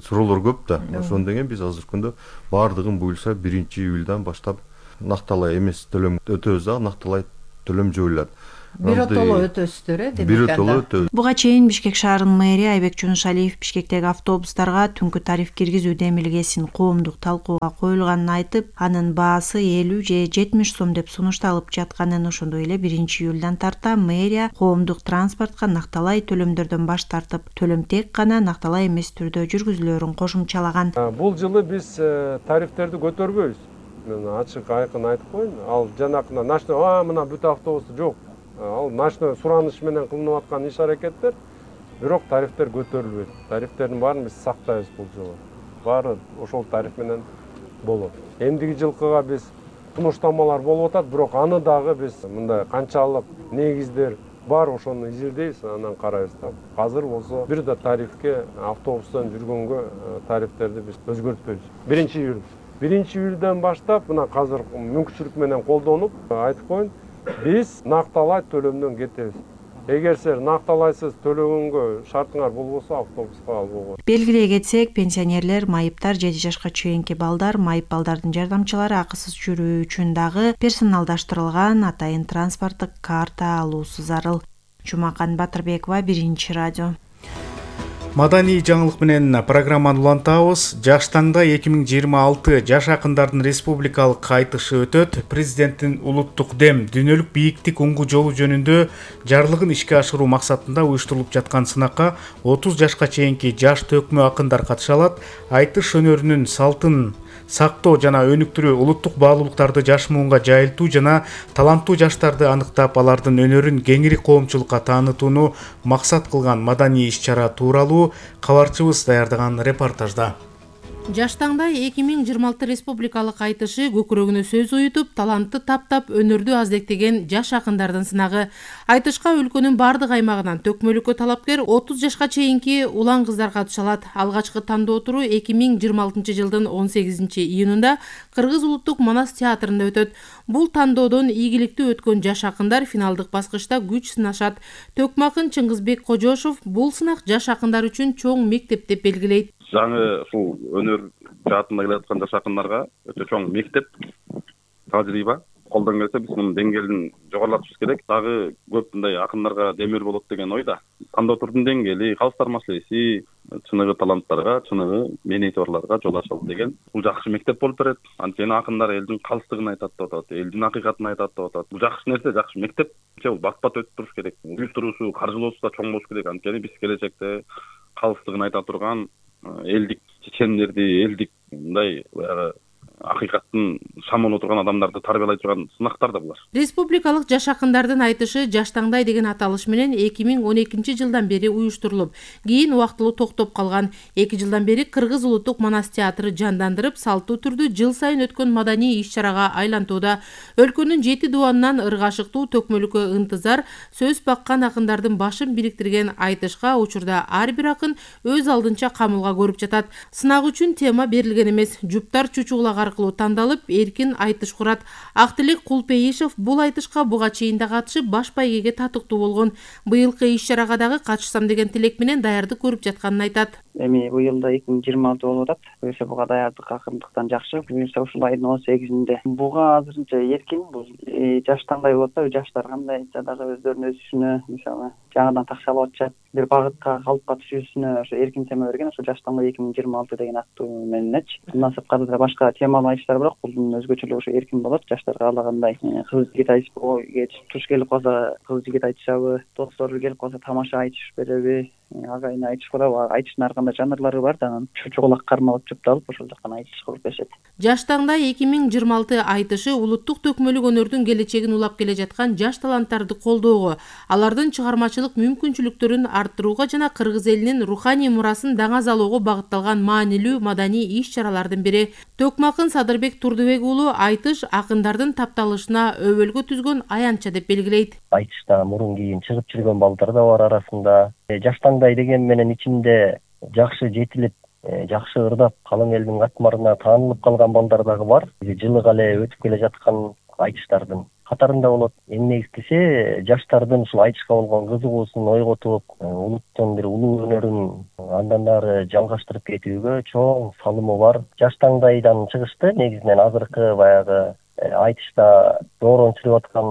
суроолор көп да. Ошондон деген биз азыркы күндө баардыгын буюрса биринчи июлдан баштап накталай эмес төлөм өтөбүз дагы, накталай төлөм жойулат. Биротоло өтөсүздөр э, демек Биротоло өтөбүз. Буга чейин Бишкек шаарынын мэрия Айбек Жунушалиев Бишкектеги автобустарга түнкү тариф киргизүү демилгесин коомдук талкууга коюлганын айтып, анын баасы элүү же жетимиш сом деп сунушталып жатканын, ошондой эле биринчи июлдан тарта мэрия коомдук транспортко накталай төлөмдөрдөн баш тартып, төлөм тек гана накталай эмес түрдө жүргүзүлөөрүн кошумчалаган. Бул жылы биз тарифтерди көтөрбөйбүз. Мен ачык айкын айтып коеюн. Ал жанакына ночной, а мына бүт автобусту жок. Ал ночной сураныш менен кылынып аткан иш аракеттер, бирок тарифтер көтөрүлбөйт. Тарифтердин баарын биз сактайбыз бул жолу. Баары ошол тариф менен болот. Эмдиги жылкыга биз сунуштамалар болуп атат, бирок аны дагы биз мындай канчалык негиздер бар ошону изилдейбиз, анан карайбыз да. Азыр болсо бир да тарифке автобустан жүргөнгө тарифтерди биз өзгөртпөйбүз. биринчи июль. биринчи июлдан баштап мына азыр мүмкүнчүлүк менен колдонуп айтып коеюн, биз накталай төлөмдөн кетебиз. Эгер силер накталайсыз төлөгөнгө шартыңар болбосо автобуска албоо. Белгилей кетсек, пенсионерлер, майыптар, жети жашка чейинки балдар, майып балдардын жардамчылары акысыз жүрүү үчүн дагы персоналдаштырылган атайын транспорттук карта алуусу зарыл. Жумакан Батырбекова, Биринчи радио. Маданий жаңылык менен программаны улантабыз. Жаштаңда эки миң жыйырма алты жаш акындардын республикалык кайтышы өтөт. Президенттин улуттук дем дүйнөлүк бийиктик уңгу жолу жөнүндө жарлыгын ишке ашыруу максатында уюштурулуп жаткан сынакка отуз жашка чейинки жаш төкмө акындар катыша алат. Айтыш өнөрүнүн салтын сактоо жана өнүктүрүү, улуттук баалуулуктарды жаш муунга жайылтуу жана таланттуу жаштарды аныктап, алардын өнөрүн кеңири коомчулукка таанытууну максат кылган маданий иш-чара тууралуу кабарчыбыз даярдаган репортажда. Жаштаңда эки миң жыйырма алты республикалык айтышы көкүрөгүнө сөз уютуп, талантты таптап, өнөрдү аздектеген жаш акындардын сынагы. Айтышка өлкөнүн бардык аймагынан төкмөлүккө талапкер отуз жашка чейинки улан кыздар катыша алат. Алгачкы тандоо туру эки миң жыйырма алтынчы жылдын он сегизинчи июнунда Кыргыз улуттук Манас театрында өтөт. Бул тандоодон ийгиликтүү өткөн жаш акындар финалдык баскычта күч сынашат. Төкмө акын Чыңгызбек Кожошов бул сынак жаш акындар үчүн чоң мектеп деп белгилейт. Жаңы ушул өнөр жаатында келе аткан жаш акындарга өтө чоң мектеп, тажрыйба. Колдон келсе биз мунун деңгээлин жогорулатышыбыз керек. Дагы көп мындай акындарга демир болот деген ойда. Тандоо турдун деңгээли, калыстар маселеси, чыныгы таланттарга, чыныгы менейтерларга жол ачылды деген бул жакшы мектеп болуп берет. Анткени акындар элдин калыстыгын айтат деп атат, элдин акыйкатын айтат деп атат. Бул жакшы нерсе, жакшы мектеп. Бул бат-бат өтүп туруш керек. Уюштуруусу, каржылоосу да чоң болуш керек. Анткени биз келечекте калыстыгын айта турган элдик чечендерди, элдик мындай баягы акыйкаттын шамын отурган адамдарды тарбиялай турган сынактар да булар. Республикалык жаш акындардын айтышы Жаштаңдай деген аталыш менен эки миң он экинчи жылдан бери уюштурулуп, кийин убактылуу токтоп калган. эки жылдан бери Кыргыз улуттук Манас театры жандандырып, салттуу түрдө жыл сайын өткөн маданий иш-чарага айлантууда. Өлкөнүн жети дубанынан ыргашыктуу төкмөлүккө ынтызар, сөз баккан акындардын башын бириктирген айтышка учурда ар бир акын өз алдынча камылга көрүп жатат. Сынак үчүн тема берилген эмес, жуптар чучугулак аркылуу тандалып, эркин айтыш курат. Актилек Кулпейишев бул айтышка буга чейин да катышып, баш байгеге татыктуу болгон. Быйылкы иш-чарага дагы катышсам деген тилек менен даярдык көрүп жатканын айтат. Эми быйыл да эки миң жыйырма алты болуп атат. Буюрса буга даярдык акырындыктан жакшы. Буюрса ушул айдын он сегизинде. Буга азырынча эркин, бул жаштаңдай болот да, жаштар кандай айтса дагы өздөрүнүн өсүшүнө, мисалы, жаңыдан такшалып атышат, бир багытка, калыпка түшүүсүнө ошо эркин тема берген. Ошо жаштаңда эки миң жыйырма алты деген аттуу мененчи. Мындан сырткары да башка темалуу айтыштар бирок бул өзгөчөлүгү ошо эркин болот. Жаштар каалагандай кыз жигит айтышпы, туш келип калса кыз жигит айтышабы, достору келип калса тамаша айтышып береби, агайын айтыш кылып, айтыштын ар кандай жанрлары бар да, анан чочолак кармалып чупталып ошол жактан айтыш кылып беришет. Жаш таңдай эки миң жыйырма алты айтышы улуттук төкмөлүк өнөрдүн келечегин улап келе жаткан жаш таланттарды колдоого, алардын чыгармачылык мүмкүнчүлүктөрүн арттырууга жана кыргыз элинин руханий мурасын даңазалоого багытталган маанилүү маданий иш-чаралардын бири. Токмакын Садырбек Турдубек уулу айтыш акындардын тапталышына өбөлгө түзгөн аянтча деп белгилейт. Айтышта мурун кийин чыгып жүргөн балдар да бар арасында. Жаш таңдай деген менен ичинде жакшы жетилип, жакшы ырдап, калың элдин катмарына таанылып калган балдар дагы бар. Жылыга эле өтүп келе жаткан айтыштардын катарында болот. Эң негизгиси жаштардын ушул айтышка болгон кызыгуусун ойготуп, улуттун бир улуу өнөрүн андан ары жалгаштырып кетүүгө чоң салымы бар. Жаш таңдайдан чыгышты негизинен азыркы баягы айтышта доорон сүрүп аткан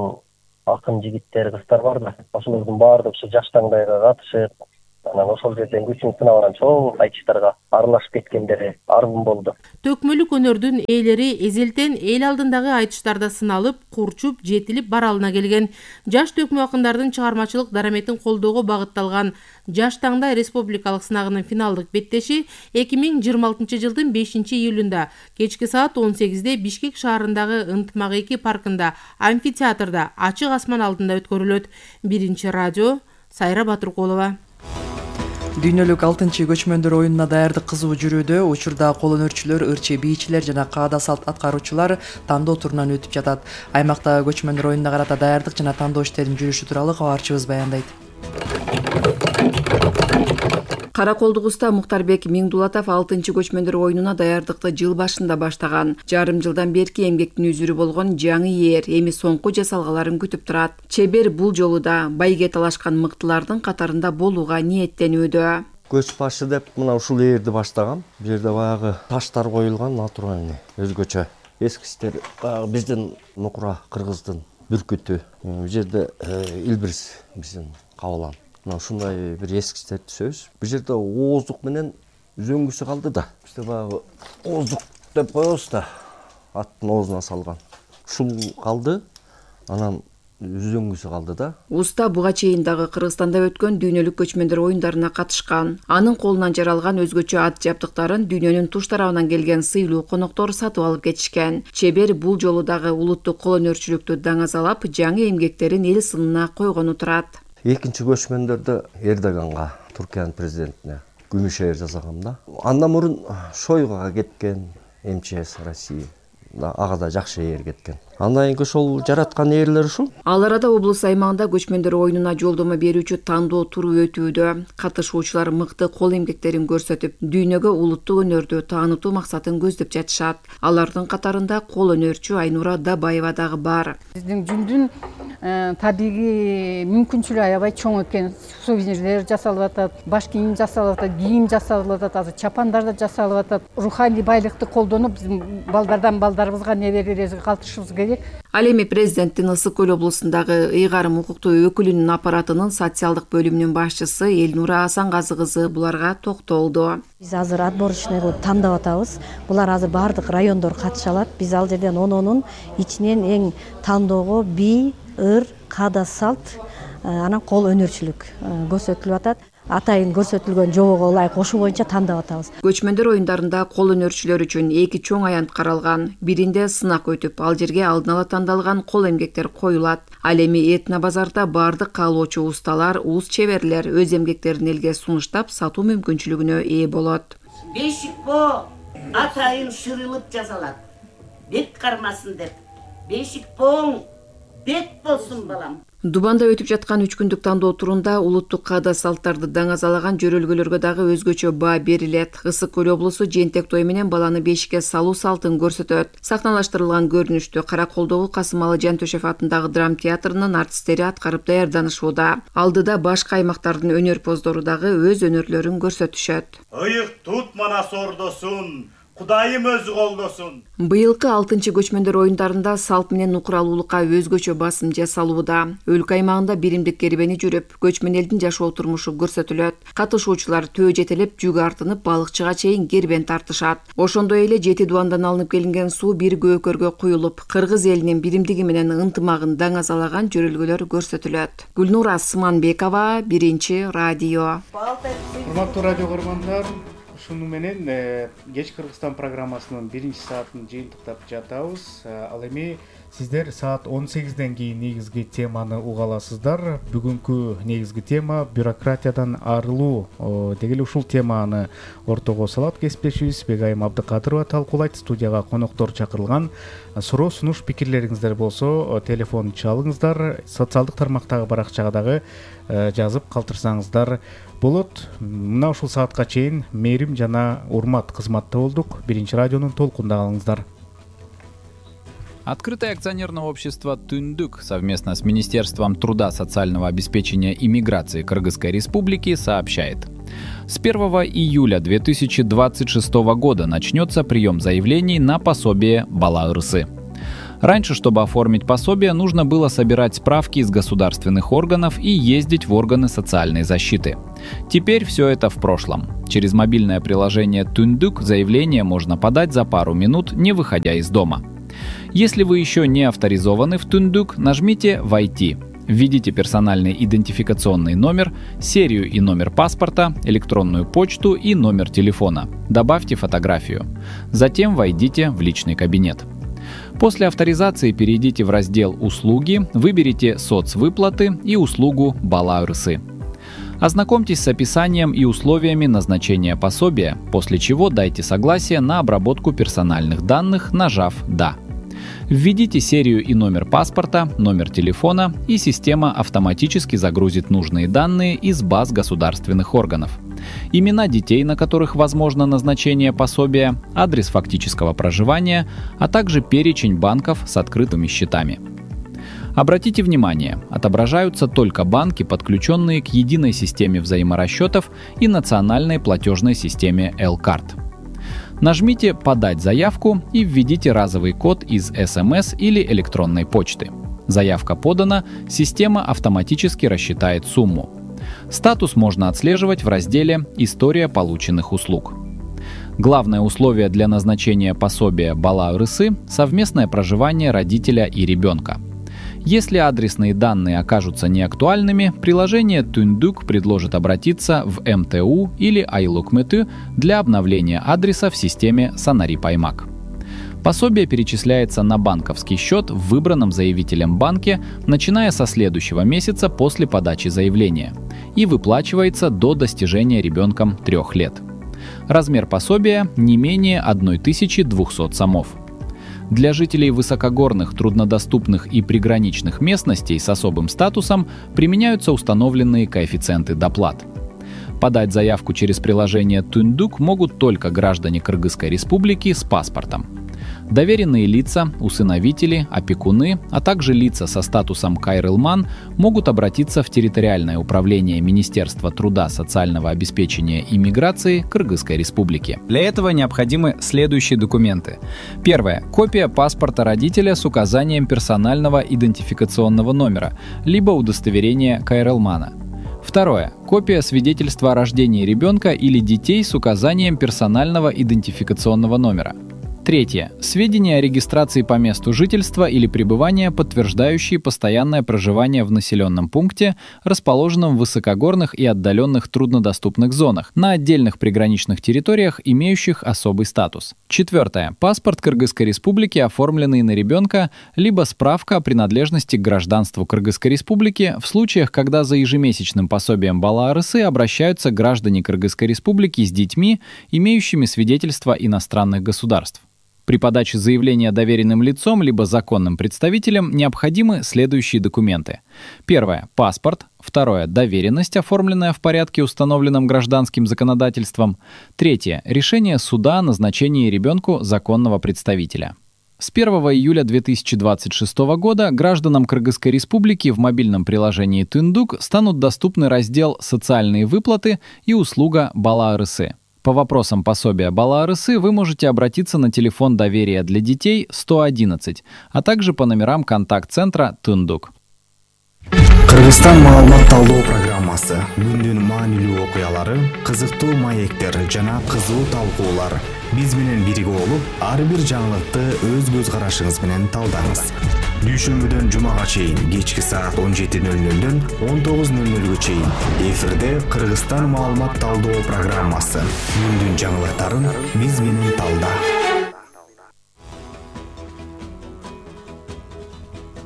акын жигиттер, кыздар бар да. Ошолордун баардыгы ушу жаш таңдайга катышып, анан ошол жерден күчүн сынап анан чоң айтыштарга аралашып кеткендери арбын болду. Төкмөлүк өнөрдүн ээлери эзелтен эл алдындагы айтыштарда сыналып, курчуп, жетилип баралына келген. Жаш төкмө акындардын чыгармачылык дараметин колдоого багытталган Жаш таңдай республикалык сынагынын финалдык беттеши эки миң жыйырма алтынчы жылдын бешинчи июлунда кечки саат он сегизде Бишкек шаарындагы Ынтмак эки паркында амфитеатрда ачык асман алдында өткөрүлөт. Биринчи радио, Сайра Батыркулова. Дүйнөлүк алтынчы көчмөндөр оюнуна даярдык кызуу жүрүүдө. Учурда кол өнөрчүлөр, ырчы бийчилер жана каада салт аткаруучулар тандоо турунан өтүп жатат. Аймакта көчмөндөр оюнуна карата даярдык жана тандоо иштеринин жүрүшү тууралуу кабарчыбыз баяндайт. Караколдугуста Муктарбек Миңдулатов алтынчы көчмөндөр оюнуна даярдыкты жыл башында баштаган. Жарым жылдан берки эмгектин үзүрү болгон жаңы ээр эми соңку жасалгаларын күтүп турат. Чебер бул жолу да байге талашкан мыктылардын катарында болууга ниеттенүүдө. Көч башы деп мына ушул ээрди баштагам. Бул жерде баягы таштар коюлган, натуральный, өзгөчө. Эскичтер баягы биздин Нукура кыргыздын бүркүтү. Бул жерде Илбирс биздин кабылан. Мына ушундай бир эскичтер түзөбүз. Бул жерде ооздук менен үзөңгүсү калды да. Бизде баягы ооздук деп коебуз да. Аттын оозуна салган. Ушул калды. Анан үзөңгүсү калды да. Уста буга чейин дагы Кыргызстанда өткөн дүйнөлүк көчмөндөр оюндарына катышкан. Анын колунан жаралган өзгөчө ат жабдыктарын дүйнөнүн туш тарабынан келген сыйлуу коноктор сатып алып кетишкен. Чебер бул жолу дагы улуттук кол өнөрчүлүктү даңазалап, жаңы эмгектерин эл сынына койгону турат. Экинчи көчмөндөрдө Эрдоганга, Туркиянын президентине күмүш ээр жасагам да. Андан мурун Шойгуга кеткен эм че эс Россия. Ага да жакшы ээр кеткен. Андан кийин ошол жараткан ээрлер ушул. Ал арада облус аймагында көчмөндөр оюнуна жолдомо берүүчү тандоо туру өтүүдө. Катышуучулар мыкты кол эмгектерин көрсөтүп, дүйнөгө улуттук өнөрдү таанытуу максатын көздөп жатышат. Алардын катарында кол өнөрчү Айнура Дабаева дагы бар. Биздин жүндүн табигый мүмкүнчүлүгү аябай чоң экен. Сувенирлер жасалып атат, баш кийим жасалып атат, кийим жасалып атат, азыр чапандар да жасалып атат. Руханий байлыкты колдонуп, биздин балдардан балдарыбызга неберелерибизге калтырышыбыз керек. Ал эми президенттин Ысык Көл облусундагы ыйгарым укуктуу өкүлүнүн аппаратынын социалдык бөлүмүнүн башчысы Элнура Асангазы кызы буларга токтолду. Биз азыр отборочный кылып тандап атабыз. Булар азыр бардык райондор катыша алат. Биз ал жерден ононун ичинен эң тандоого бий, ыр, каада салт, анан кол өнөрчүлүк көрсөтүлүп атат. Атайын көрсөтүлгөн жобого ылайык ошол боюнча тандап атабыз. Көчмөндөр оюндарында кол өнөрчүлөр үчүн эки чоң аянт каралган. Биринде сынак өтүп, ал жерге алдын ала тандалган кол эмгектер коюлат. Ал эми этно базарда бардык каалоочу усталар, уус чеберлер өз эмгектерин элге сунуштап сатуу мүмкүнчүлүгүнө ээ болот. Бешикпо атайын шырылып жасалат. Бет кармасын деп. Бешикпоң бет болсун балам. Дубанда өтүп жаткан үч күндүк тандоо турунда улуттук каада салттарды даңазалаган жөрөлгөлөргө дагы өзгөчө баа берилет. Ысык Көл облусу жентек той менен баланы бешикке салуу салтын көрсөтөт. Сахналаштырылган көрүнүштү Караколдогу Касымалы Жантөшев атындагы драма театрынын артисттери аткарып даярданышууда. Алдыда башка аймактардын өнөр поздору дагы өз өнөрлөрүн көрсөтүшөт. Ыйык тут манас ордосун, Кудайым өзү колдосун. Быйылкы алтынчы көчмөндөр оюндарында салт менен нукуралуулукка өзгөчө басым жасалууда. Өлкө аймагында биримдик кербени жүрүп, көчмөн элдин жашоо турмушу көрсөтүлөт. Катышуучулар төө жетелеп, жүк артынып, балыкчыга чейин кербен тартышат. Ошондой эле жети дубандан алынып келинген суу бир көкөргө куюлуп, кыргыз элинин биримдиги менен ынтымагын даңазалаган жөрөлгөлөр көрсөтүлөт. Гүлнура Сыманбекова, Биринчи радио. Урматтуу радио көргөндөр, ушуну менен кеч Кыргызстан программасынын биринчи саатын жыйынтыктап жатабыз. Ал эми сиздер саат он сегизден кийин негизги теманы уга аласыздар. Бүгүнкү негизги тема бюрократиядан арылуу деген ушул теманы ортого салат кесиптешибиз Бегайым Абдыкадырова талкуулайт. Студияга коноктор чакырылган. Суроо сунуш пикирлериңиздер болсо телефон чалыңыздар, социалдык тармактагы баракчага дагы жазып калтырсаңыздар болот. Мына ушул саатка чейин мээрим жана урмат кызматта болдук. Биринчи радионун толкунда калыңыздар. Открытое акционерное общество «Түндүк» совместно с Министерством труда, социального обеспечения и миграции Кыргызской Республики сообщает. С первого июля две тысячи двадцать шестого года начнется прием заявлений на пособие Бала Ырысы. Раньше, чтобы оформить пособие, нужно было собирать справки из государственных органов и ездить в органы социальной защиты. Теперь все это в прошлом. Через мобильное приложение «Түндүк» заявление можно подать за пару минут, не выходя из дома. Если вы еще не авторизованы в «Түндүк», нажмите «Войти». Введите персональный идентификационный номер, серию и номер паспорта, электронную почту и номер телефона. Добавьте фотографию. Затем войдите в личный кабинет. После авторизации перейдите в раздел «Услуги», выберите «Соцвыплаты» и услугу «Бала Ырысы». Ознакомьтесь с описанием и условиями назначения пособия, после чего дайте согласие на обработку персональных данных, нажав «Да». Введите серию и номер паспорта, номер телефона, и система автоматически загрузит нужные данные из баз государственных органов. Имена детей, на которых возможно назначение пособия, адрес фактического проживания, а также перечень банков с открытыми счетами. Обратите внимание, отображаются только банки, подключенные к единой системе взаиморасчетов и национальной платежной системе L-Card. Нажмите «Подать заявку» и введите разовый код из эс эм эс или электронной почты. Заявка подана, система автоматически рассчитает сумму. Статус можно отслеживать в разделе «История полученных услуг». Главное условие для назначения пособия Бала Ырысы – совместное проживание родителя и ребенка. Если адресные данные окажутся неактуальными, приложение «Түндүк» предложит обратиться в эм тэ у или Айлукмэты для обновления адреса в системе Санари-Паймак. Пособие перечисляется на банковский счет в выбранном заявителем банке, начиная со следующего месяца после подачи заявления, и выплачивается до достижения ребенком трех лет. Размер пособия не менее тысячи двухсот сомов. Для жителей высокогорных, труднодоступных и приграничных местностей с особым статусом применяются установленные коэффициенты доплат. Подать заявку через приложение «Түндүк» могут только граждане Кыргызской Республики с паспортом. Доверенные лица, усыновители, опекуны, а также лица со статусом кайрылман могут обратиться в территориальное управление Министерства труда, социального обеспечения и миграции Кыргызской Республики. Для этого необходимы следующие документы. Первое. Копия паспорта родителя с указанием персонального идентификационного номера, либо удостоверения кайрылмана. Второе. Копия свидетельства о рождении ребенка или детей с указанием персонального идентификационного номера. Третье. Сведения о регистрации по месту жительства или пребывания, подтверждающие постоянное проживание в населенном пункте, расположенном в высокогорных и отдаленных труднодоступных зонах, на отдельных приграничных территориях, имеющих особый статус. Четвертое. Паспорт Кыргызской Республики, оформленный на ребенка, либо справка о принадлежности к гражданству Кыргызской Республики в случаях, когда за ежемесячным пособием Бала Ырысы обращаются граждане Кыргызской Республики с детьми, имеющими свидетельство иностранных государств. При подаче заявления доверенным лицом либо законным представителем необходимы следующие документы. Первое – паспорт. Второе – доверенность, оформленная в порядке, установленном гражданским законодательством. Третье – решение суда о назначении ребенку законного представителя. С первого июля две тысячи двадцать шестого года гражданам Кыргызской Республики в мобильном приложении «Түндүк» станут доступны раздел «Социальные выплаты» и услуга «Бала Ырысы». По вопросам пособия бала арысы вы можете обратиться на телефон доверия для детей сто одиннадцать, а также по номерам контакт-центра Тундук. Кыргызстан маалымат талдоо программасы күндүн маанилүү окуялары, кызыктуу маектер жана кызуу талкуулар. Биз менен бирге болуп, ар бир жаңылыкты өз көз карашыңыз менен талдаңыз. Дүйшөмбүдөн жумага чейин кечки саат он жети нөл нөлдөн он тогуз нөл нөлгө чейин эфирде Кыргызстан маалымат талдоо программасы. Күндүн жаңылыктарын биз менен талда.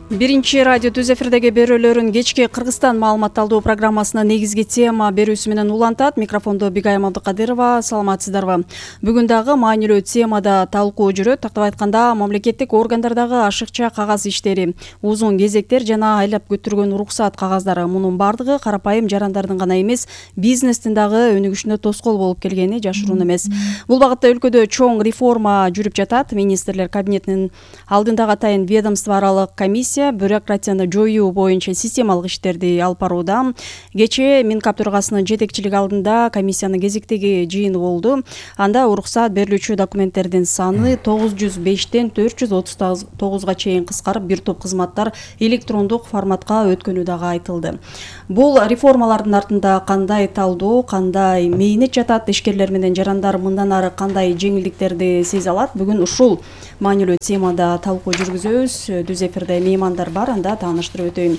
Биринчи радио түз эфирдеги берүүлөрүн кечки Кыргызстан маалымат талдоо программасына негизги тема берүүсү менен улантат. Микрофондо Бигайым Абдыкадырова. Саламатсыздарбы? Бүгүн дагы маанилүү темада талкуу жүрөт. Тактап айтканда, мамлекеттик органдардагы ашыкча кагаз иштери, узун кезектер жана айлап көтүргөн уруксат кагаздары, мунун бардыгы карапайым жарандардын гана эмес, бизнестин дагы өнүгүшүнө тоскоол болуп келгени жашыруун эмес. Бул багытта өлкөдө чоң реформа жүрүп жатат. Министрлер кабинетинин алдындагы атайын ведомство аралык комиссия бюрократияны жоюу боюнча системалык иштерди алып барууда. Кечээ Минкап төрагасынын жетекчилиги алдында комиссиянын кезектеги жыйыны болду. Анда уруксат берилүүчү документтердин саны тогуз жүз бештен төрт жүз отуз тогузга чейин кыскарып, бир топ кызматтар электрондук форматка өткөнү дагы айтылды. Бул реформалардын артында кандай талдоо, кандай мээнет жатат, ишкерлер менен жарандар мындан ары кандай жеңилдиктерди сезе алат? Бүгүн ушул маанилүү темада талкуу жүргүзөбүз. Түз эфирде меймандар бар, анда тааныштырып өтөйүн.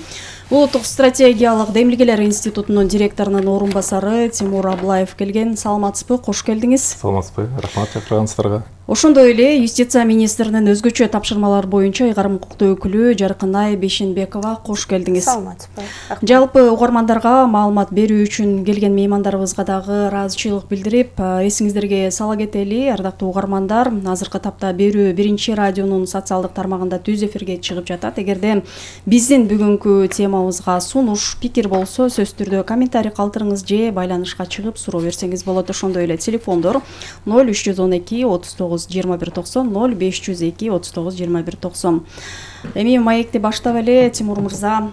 Улуттук стратегиялык демилгелер институтунун директорунун орун басары Тимур Аблаев келген. Саламатсызбы? Кош келдиңиз. Саламатсызбы? Рахмат чакырганыңыздарга. Ошондой эле юстиция министринин өзгөчө тапшырмалар боюнча ыйгарым укуктуу өкүлү Жаркынай Бешенбекова. Кош келдиңиз. Саламатсызбы? Жалпы угармандарга маалымат берүү үчүн келген меймандарыбызга дагы ыраазычылык билдирип, эсиңиздерге сала кетели, ардактуу угармандар, азыркы тапта берүү биринчи радионун социалдык тармагында түз эфирге чыгып жатат. Эгерде биздин бүгүнкү темабызга сунуш, пикир болсо, сөзсүз түрдө комментарий калтырыңыз же байланышка чыгып суроо берсеңиз болот. Ошондой эле телефондор ноль үч жүз он эки отуз тогуз жыйырма бир токсон, ноль беш жүз эки отуз тогуз жыйырма бир токсон. Эми маекти баштап эле, Тимур мырза,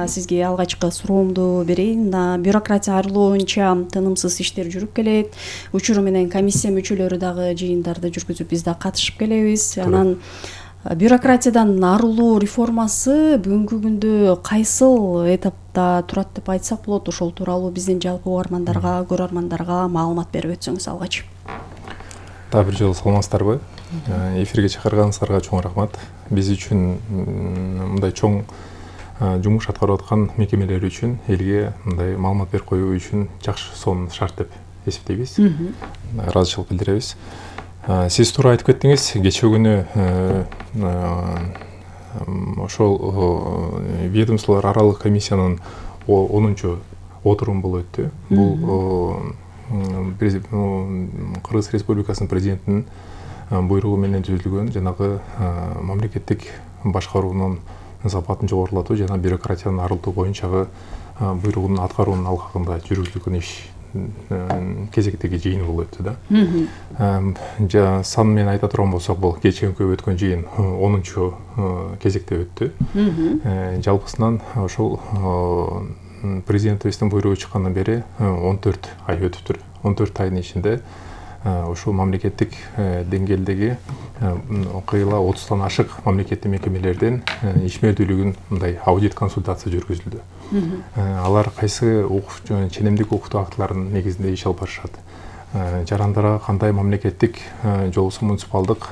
сизге алгачкы суроомду берейин. Бюрократия арылуу боюнча тынымсыз иштер жүрүп келет. Учуру менен комиссия мүчөлөрү дагы жыйындарды жүргүзүп, биз да катышып келебиз. Анан бюрократиядан арылуу реформасы бүгүнкү күндө кайсыл этапта турат деп айтсак болот? Ошол тууралуу биздин жалпы угармандарга, көрөрмандарга маалымат берип өтсөңүз алгач. Дагы бир жолу саламатсыздарбы? Эфирге чакырганыңыздарга чоң рахмат. Биз үчүн мындай чоң жумуш аткарып аткан мекемелер үчүн элге мындай маалымат берип коюу үчүн жакшы сонун шарт деп эсептейбиз. Ыраазычылык билдиребиз. Сиз туура айтып кеттиңиз, кечээ күнү ошол ведомстволор аралык комиссиянын онунчу отуруму болуп өттү. Бул Кыргыз Республикасынын президентинин буйругу менен түзүлгөн жанагы мамлекеттик башкаруунун сапатын жогорулатуу жана бюрократияны арылтуу боюнчагы буйругун аткаруунун алкагында жүргүзүлгөн иш кезектеги жыйыны болуп өттү да. Сан менен айта турган болсок, бул кечээкү өткөн жыйын онунчу кезекте өттү. Жалпысынан ошол президентибиздин буйругу чыккандан бери он төрт ай өтүптүр. он төрт айдын ичинде ушул мамлекеттик деңгээлдеги кыйла отуздан ашык мамлекеттик мекемелерден ишмердүүлүгүн мындай аудит консультация жүргүзүлдү. Алар кайсы ченемдик укуктуу актылардын негизинде иш алып барышат. Жарандарга кандай мамлекеттик же болбосо муниципалдык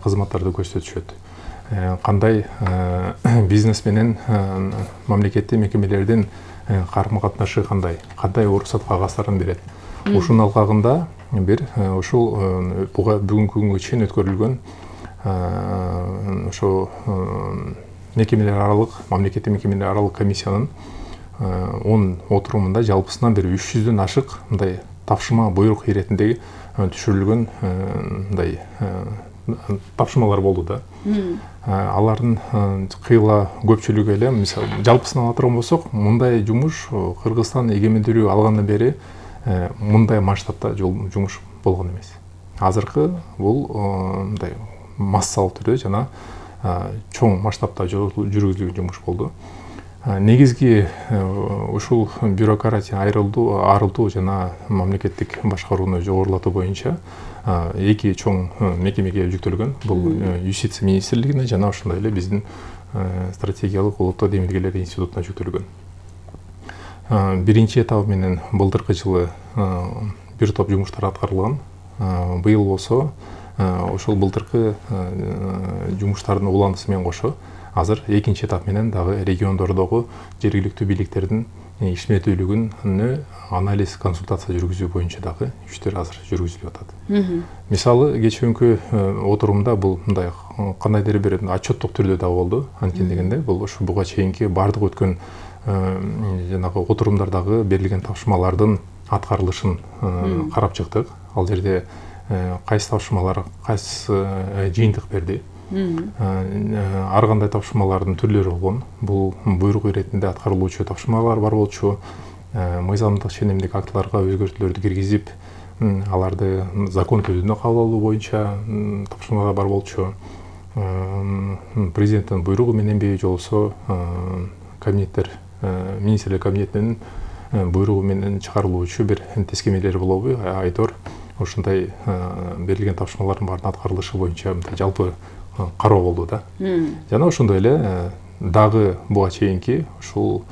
кызматтарды көрсөтүшөт. Кандай бизнес менен мамлекеттик мекемелердин карым катнашы кандай, кандай уруксат кагаздарын берет. Ушунун алкагында бир ушул бүгүнкү күнгө чейин өткөрүлгөн ошо мекемелер аралык, мамлекеттик мекемелер аралык комиссиянын он отурумунда жалпысынан бир үч жүздөн ашык мындай тапшырма буйрук иретиндеги түшүрүлгөн мындай тапшырмалар болду да. Алардын кыйла көпчүлүгү эле, мисалы, жалпысын ала турган болсок, мындай жумуш Кыргызстан эгемендүүлүгү алгандан бери мындай масштабта жумуш болгон эмес. Азыркы бул мындай массалык түрдө жана чоң масштабта жүргүзүлгөн жумуш болду. негизги ушул бюрократия айрылуу арылтуу жана мамлекеттик башкарууну жогорулатуу боюнча эки чоң мекемеге жүктөлгөн. Бул юстиция министрлигине жана ошондой эле биздин стратегиялык улуттук демилгелер институтуна жүктөлгөн. Биринчи этабы менен былтыркы жылы бир топ жумуштар аткарылган. Быйыл болсо ошол былтыркы жумуштардын уланысы менен кошо азыр экинчи этап менен дагы региондордогу жергиликтүү бийликтердин ишмердүүлүгүнө анализ, консультация жүргүзүү боюнча дагы иштер азыр жүргүзүлүп атат. Мисалы кечээкү отурумда бул мындай кандайдыр бир отчеттук түрдө да болду. Анткени дегенде бул ушу буга чейинки баардык өткөн жанагы отурумдардагы берилген тапшырмалардын аткарылышын карап чыктык. Ал жерде кайсы тапшырмалар кайсы жыйынтык берди. Ар кандай тапшырмалардын түрлөрү болгон. Бул буйрук иретинде аткарылуучу тапшырмалар бар болчу. Мыйзамдык ченемдик актыларга өзгөртүүлөрдү киргизип, аларды закон түрүндө кабыл алуу боюнча тапшырмалар бар болчу. Президенттин буйругу мененби же болбосо кабинеттер, министрлер кабинетинин буйругу менен чыгарылуучу бир тескемелер болобу, айтор ошондой берилген тапшырмалардын баардыгын аткарылышы боюнча жалпы кароо болду да. Жана ошондой эле дагы буга чейинки ушул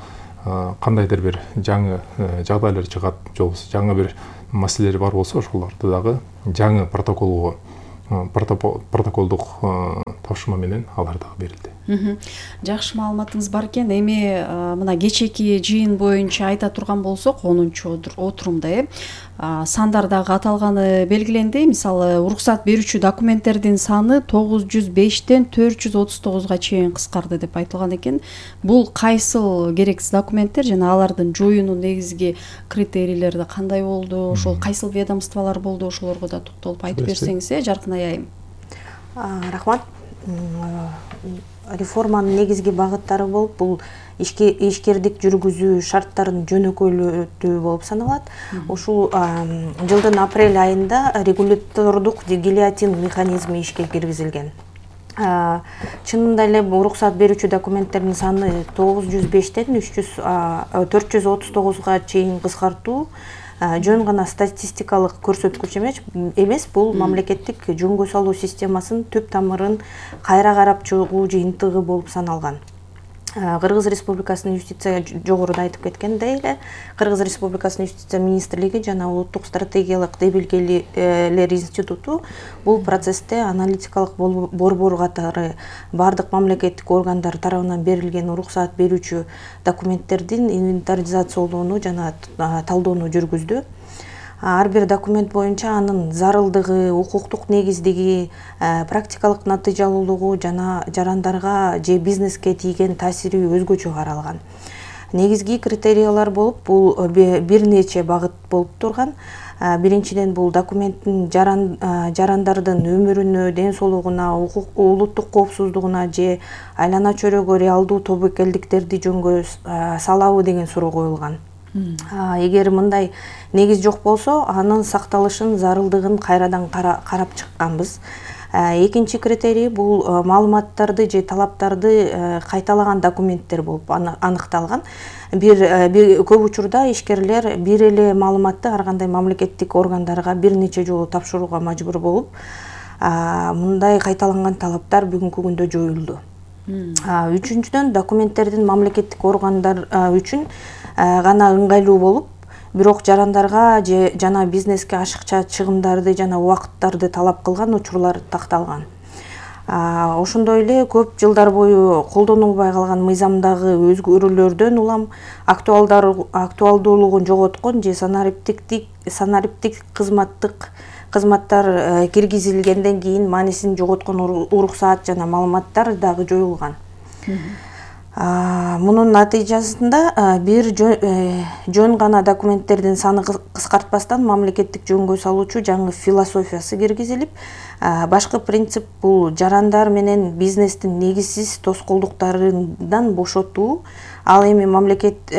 кандайдыр бир жаңы жагдайлар чыгат, же болбосо жаңы бир маселелер бар болсо, ошолорду дагы жаңы протоколго протоколдук тапшырма менен алар дагы берилди. Жакшы маалыматыңыз бар экен. Эми мына кечээки жыйын боюнча айта турган болсок, онунчу отурумда э сандар дагы аталганы белгиленди. Мисалы, уруксат берүүчү документтердин саны тогуз жүз бештен төрт жүз отуз тогузга чейин кыскарды деп айтылган экен. Бул кайсыл керексиз документтер жана алардын жоюунун негизги критерийлери кандай болду? Ошол кайсыл ведомстволор болду? Ошолорго да токтолуп айтып берсеңиз, э Жаркын айайым. Рахмат. Реформанын негизги багыттары болуп, бул ишкердик жүргүзүү шарттарын жөнөкөйлөтүү болуп саналат. Ушул жылдын апрель айында регулятордук гильотин механизми ишке киргизилген. Чынында эле уруксат берүүчү документтердин саны тогуз жүз бештен төрт жүз отуз тогузга чейин кыскартуу жөн гана статистикалык көрсөткүч эмес, бул мамлекеттик жөнгө салуу системасынын түп тамырын кайра карап чыгуу жыйынтыгы болуп саналган. Кыргыз Республикасынын юстиция жогоруда айтып кеткендей эле, Кыргыз Республикасынын юстиция министрлиги жана улуттук стратегиялык демилгелер институту бул процессте аналитикалык борбор катары бардык мамлекеттик органдар тарабынан берилген уруксат берүүчү документтердин инвентаризациялоону жана талдоону жүргүздү. Ар бир документ боюнча анын зарылдыгы, укуктук негиздиги, практикалык натыйжалуулугу жана жарандарга же бизнеске тийген таасири өзгөчө каралган. Негизги критериялар болуп, бул бир нече багыт болуп турган. Биринчиден, бул документтин жарандардын өмүрүнө, ден соолугуна, улуттук коопсуздугуна же айлана чөйрөгө реалдуу тобокелдиктерди жөнгө салабы деген суроо коюлган. Эгер мындай негиз жок болсо, анын сакталышын, зарылдыгын кайрадан карап чыкканбыз. Экинчи критерий бул маалыматтарды же талаптарды кайталаган документтер болуп аныкталган. Бир көп учурда ишкерлер бир эле маалыматты ар кандай мамлекеттик органдарга бир нече жолу тапшырууга мажбур болуп, мындай кайталанган талаптар бүгүнкү күндө жоюлду. Үчүнчүдөн, документтердин мамлекеттик органдар үчүн гана ыңгайлуу болуп, бирок жарандарга же жана бизнеске ашыкча чыгымдарды жана убакыттарды талап кылган учурлар такталган. Ошондой эле көп жылдар бою колдонулбай калган мыйзамдагы өзгөрүүлөрдөн улам актуалдуулугун жоготкон же санариптик кызматтык кызматтар киргизилгенден кийин маанисин жоготкон уруксаат жана маалыматтар дагы жоюлган. Мунун натыйжасында бир жөн гана документтердин саны кыскартпастан мамлекеттик жөнгө салуучу жаңы философиясы киргизилип, башкы принцип бул жарандар менен бизнестин негизсиз тоскоолдуктарынан бошотуу, ал эми мамлекет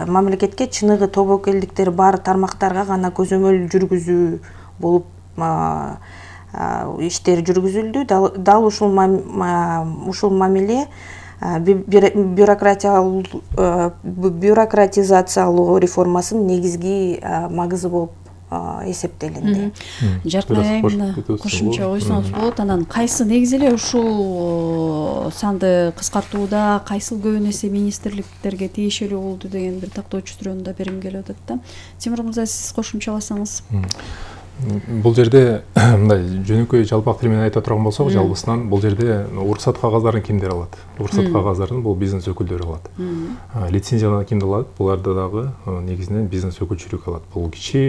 мамлекетке чыныгы тобокелдиктер бар тармактарга гана көзөмөл жүргүзүү болуп иштер жүргүзүлдү. Дал ушул ушул мамиле бюрократизациялоо реформасынын негизги магызы болуп эсептелинди. Жаркын айымына кошумча койсоңуз болот. Анан кайсы негизи эле ушул санды кыскартууда кайсыл көбүн эсе министрликтерге тиешелүү болду деген бир тактоочу суроону да бергим келип атат да. Тимур мырза, сиз кошумчаласаңыз. Бул жерде мындай жөнөкөй жалпак тил менен айта турган болсок, жалпысынан бул жерде уруксат кагаздарын кимдер алат? Уруксат кагаздарын бул бизнес өкүлдөрү алат. Лицензияны кимдер алат? Буларды дагы негизинен бизнес өкүлчүлүк алат. Бул кичи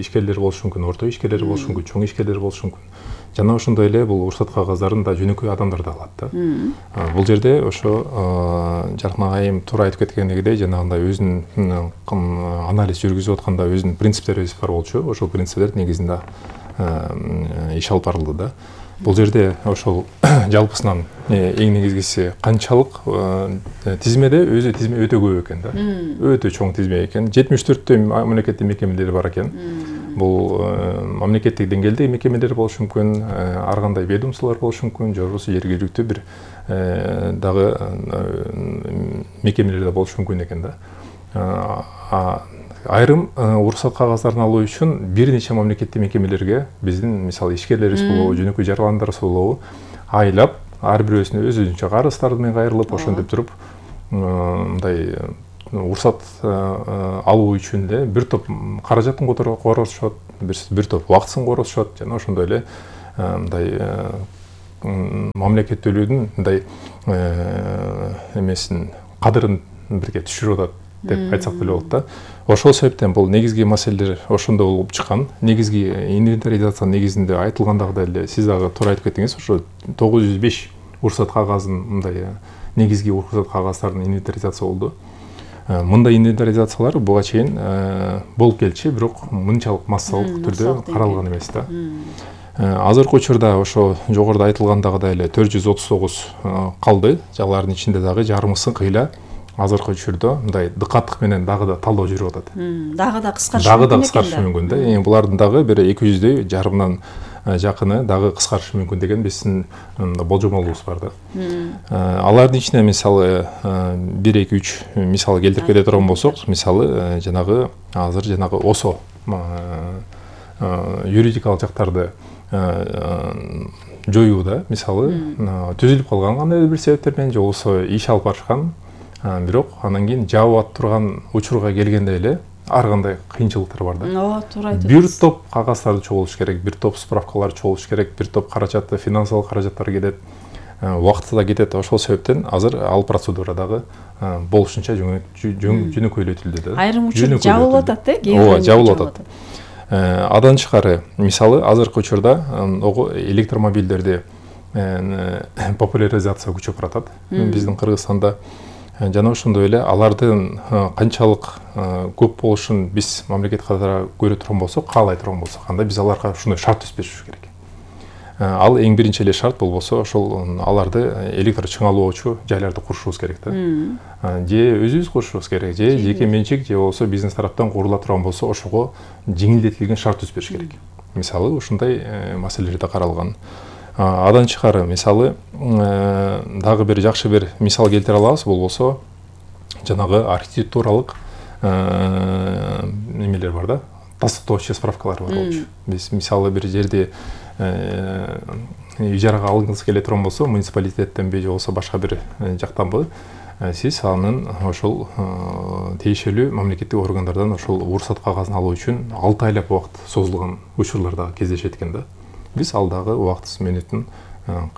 ишкерлер болушу мүмкүн, орто ишкерлер болушу мүмкүн, чоң ишкерлер болушу мүмкүн. Жана ошондой эле бул уруксат кагаздарын да жөнөкөй адамдар да алат да. Бул жерде ошо Жаркын айым туура айтып кеткендегидей, жанагындай өзүнүн анализ жүргүзүп атканда өзүнүн принциптери бар болчу. Ошол принциптер негизинде иш алып барылды да. Бул жерде ошол жалпысынан эң негизгиси канчалык тизмеде өзү тизме өтө көп экен да. Өтө чоң тизме экен. жетимиш төрттөй мамлекеттик мекемелер бар экен. Бул мамлекеттик деңгээлдеги мекемелер болушу мүмкүн, ар кандай ведомстволор болушу мүмкүн, же болбосо жергиликтүү бир дагы мекемелер да болушу мүмкүн экен да. Айрым уруксат кагаздарын алуу үчүн бир нече мамлекеттик мекемелерге биздин мисалы ишкерлер болобу, жөнөкөй жаргаландар болобу айлап ар бирөөсүнө өзүнчө карыздары менен кайрылып ошентип туруп мындай уруксат алуу үчүн эле бир топ каражатын коротушат, бир топ убактысын коротушат жана ошондой эле мындай мамлекеттүүлүгүн мындай эмесин кадырын бирге түшүрүп атат деп айтсак деле болот да. Ошол себептен бул негизги маселелер ошондо болуп чыккан. Негизги инвентаризация негизинде айтылгандагыдай эле сиз дагы туура айтып кеттиңиз, ошо тогуз жүз беш уруксат кагазын мындай негизги уруксат кагаздарын инвентаризация болду. Мындай инвентаризациялар буга чейин болуп келчү, бирок мынчалык массалык түрдө каралган эмес да. Азыркы учурда ошо жогоруда айтылгандагыдай эле төрт жүз отуз тогуз калды. Алардын ичинде дагы жарымысын кыйла азыркы учурда мындай дыкаттык менен дагы да талдоо жүрүп атат. Дагы да кыскарышы мүмкүн. Дагы да кыскарышы мүмкүн да. Эми булардын дагы бир эки жүздөй жарымдан жакыны дагы кыскарышы мүмкүн деген биздин болжомолубуз бар да. Алардын ичинде мисалы бир эки үч мисал келтирип кете турган болсок, мисалы жанагы азыр жанагы осо юридикалык жактарды жоюуда мисалы түзүлүп калган кандайдыр бир себептер менен же болбосо иш алып барышкан, бирок анан кийин жабып ат турган учурга келгенде эле ар кандай кыйынчылыктар бар да. Ооба, туура айтасыз. Бир топ кагаздарды чогултуш керек, бир топ справкалар чогултуш керек, бир топ каражатты, финансылык каражаттар кетет, убакыты да кетет. Ошол себептен азыр ал процедура дагы болушунча жөнөкөйлөтүлдү да. Айрым учур жабылып атат да, ооба, жабылып атат. Адан тышкары мисалы азыркы учурда электромобилдерди популяризация күчөп баратат биздин Кыргызстанда. Жана ошондой эле алардын канчалык көп болушун биз мамлекет катары көрө турган болсок, каалай турган болсок, анда биз аларга ушундай шарт түзүшүбүз керек. Ал эң биринчи эле шарт болбосо ошол аларды электр чыңалоочу жайларды курушубуз керек да. Же өзүбүз курушубуз керек, же жеке менчик, же болбосо бизнес тараптан курула турган болсо, ошого жеңилдетилген шарт түзүш керек. Мисалы ушундай маселелер да каралган. Адан тышкары мисалы дагы бир жакшы бир мисал келтире алабыз, болбосо жанагы архитектуралык немелер бар да, тастыктоочу справкалар бар болчу. Биз мисалы бир жерде ижарага алгыңыз келе турган болсо, муниципалитеттенби же болбосо башка бир жактанбы, сиз анын ошол тиешелүү мамлекеттик органдардан ошол уруксат кагазын алуу үчүн алты айлап убакыт созулган учурлар дагы кездешет экен да. Биз ал дагы убактысы менетин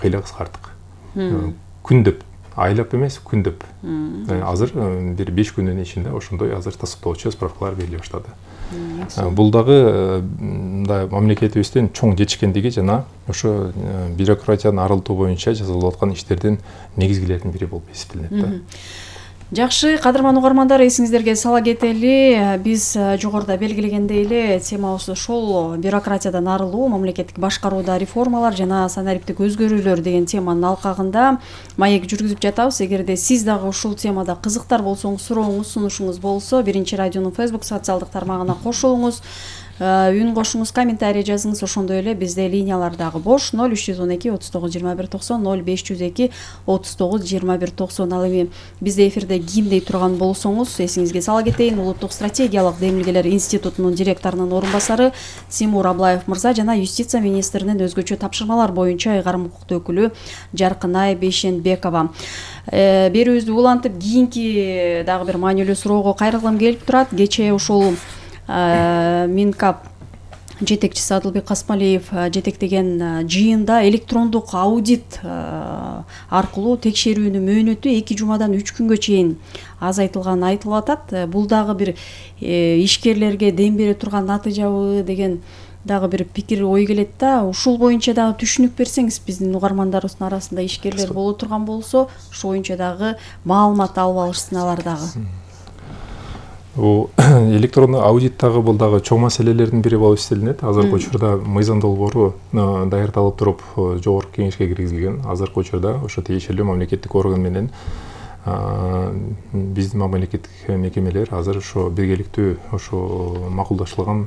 кыйла кыскарттык. Күндөп, айлап эмес, күндөп. Азыр бир беш күндүн ичинде ошондой азыр тастыктоочу справкалар бериле баштады. Бул дагы мамлекетибиздин чоң жетишкендиги жана ошо бюрократияны арылтуу боюнча жасалып аткан иштердин негизгилеринин бири болуп эсептелет да. Жакшы, кадырман угармандар, эсиңиздерге сала кетели, биз жогоруда белгилегендей эле темабыз ошол бюрократиядан арылуу, мамлекеттик башкарууда реформалар жана санариптик өзгөрүүлөр деген теманын алкагында маек жүргүзүп жатабыз. Эгерде сиз дагы ушул темада кызыктар болсоңуз, сурооңуз, сунушуңуз болсо, Биринчи радионун Facebook социалдык тармагына кошулуңуз. Үн кошуңуз, комментарий жазыңыз. Ошондой эле бизде линиялар дагы бош. ноль үч жүз он эки отуз тогуз жыйырма бир токсон, ноль беш жүз эки отуз тогуз жыйырма бир токсон. Ал эми бизде эфирде кимдей турган болсоңуз, эсиңизге сала кетейин. Улуттук стратегиялык демилгелер институтунун директорунун орун басары Тимур Аблаев мырза жана юстиция министринин өзгөчө тапшырмалар боюнча ыйгарым укуктуу өкүлү Жаркынай Бейшенбекова. Берүүбүздү улантып, кийинки дагы бир маанилүү суроого кайрылгым келип турат. Кечээ ушул Минкап жетекчиси Адылбек Касмалиев жетектеген жыйында электрондук аудит аркылуу текшерүүнүн мөөнөтү эки жумадан үч күнгө чейин азайтылганы айтылып атат. Бул дагы бир ишкерлерге дем бере турган натыйжабы деген дагы бир пикир ой келет да. Ушул боюнча дагы түшүнүк берсеңиз, биздин угармандарыбыздын арасында ишкерлер боло турган болсо, ошол боюнча дагы маалымат алып алышсын алар дагы. Бул электрондук аудиттагы бул дагы чоң маселелердин бири болуп эстелинет. Азыркы учурда мыйзам долбоору даярдалып туруп жогорку кеңешке киргизилген. Азыркы учурда ошо тиешелүү мамлекеттик орган менен биздин мамлекеттик мекемелер азыр ошо биргеликтүү ошо макулдашылган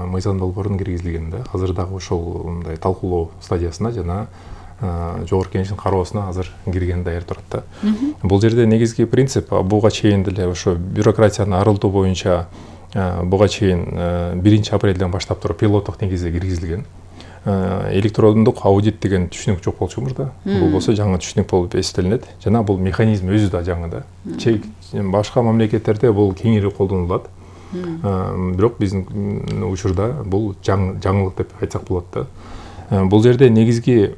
мыйзам долбоорун киргизилген да. Азыр дагы ошол мындай талкуулоо стадиясында жана жогорку кеңештин кароосуна азыр кирген даяр турат да. Бул жерде негизги принцип буга чейин деле ошо бюрократияны арылтуу боюнча буга чейин биринчи апрелден баштап туруп пилоттук негизде киргизилген. Электрондук аудит деген түшүнүк жок болчу мурда. Бул болсо жаңы түшүнүк болуп эстелинет. Жана бул механизм өзү да жаңы да. Башка мамлекеттерде бул кеңири колдонулат. Бирок биздин учурда бул жаңылык деп айтсак болот да. Бул жерде негизги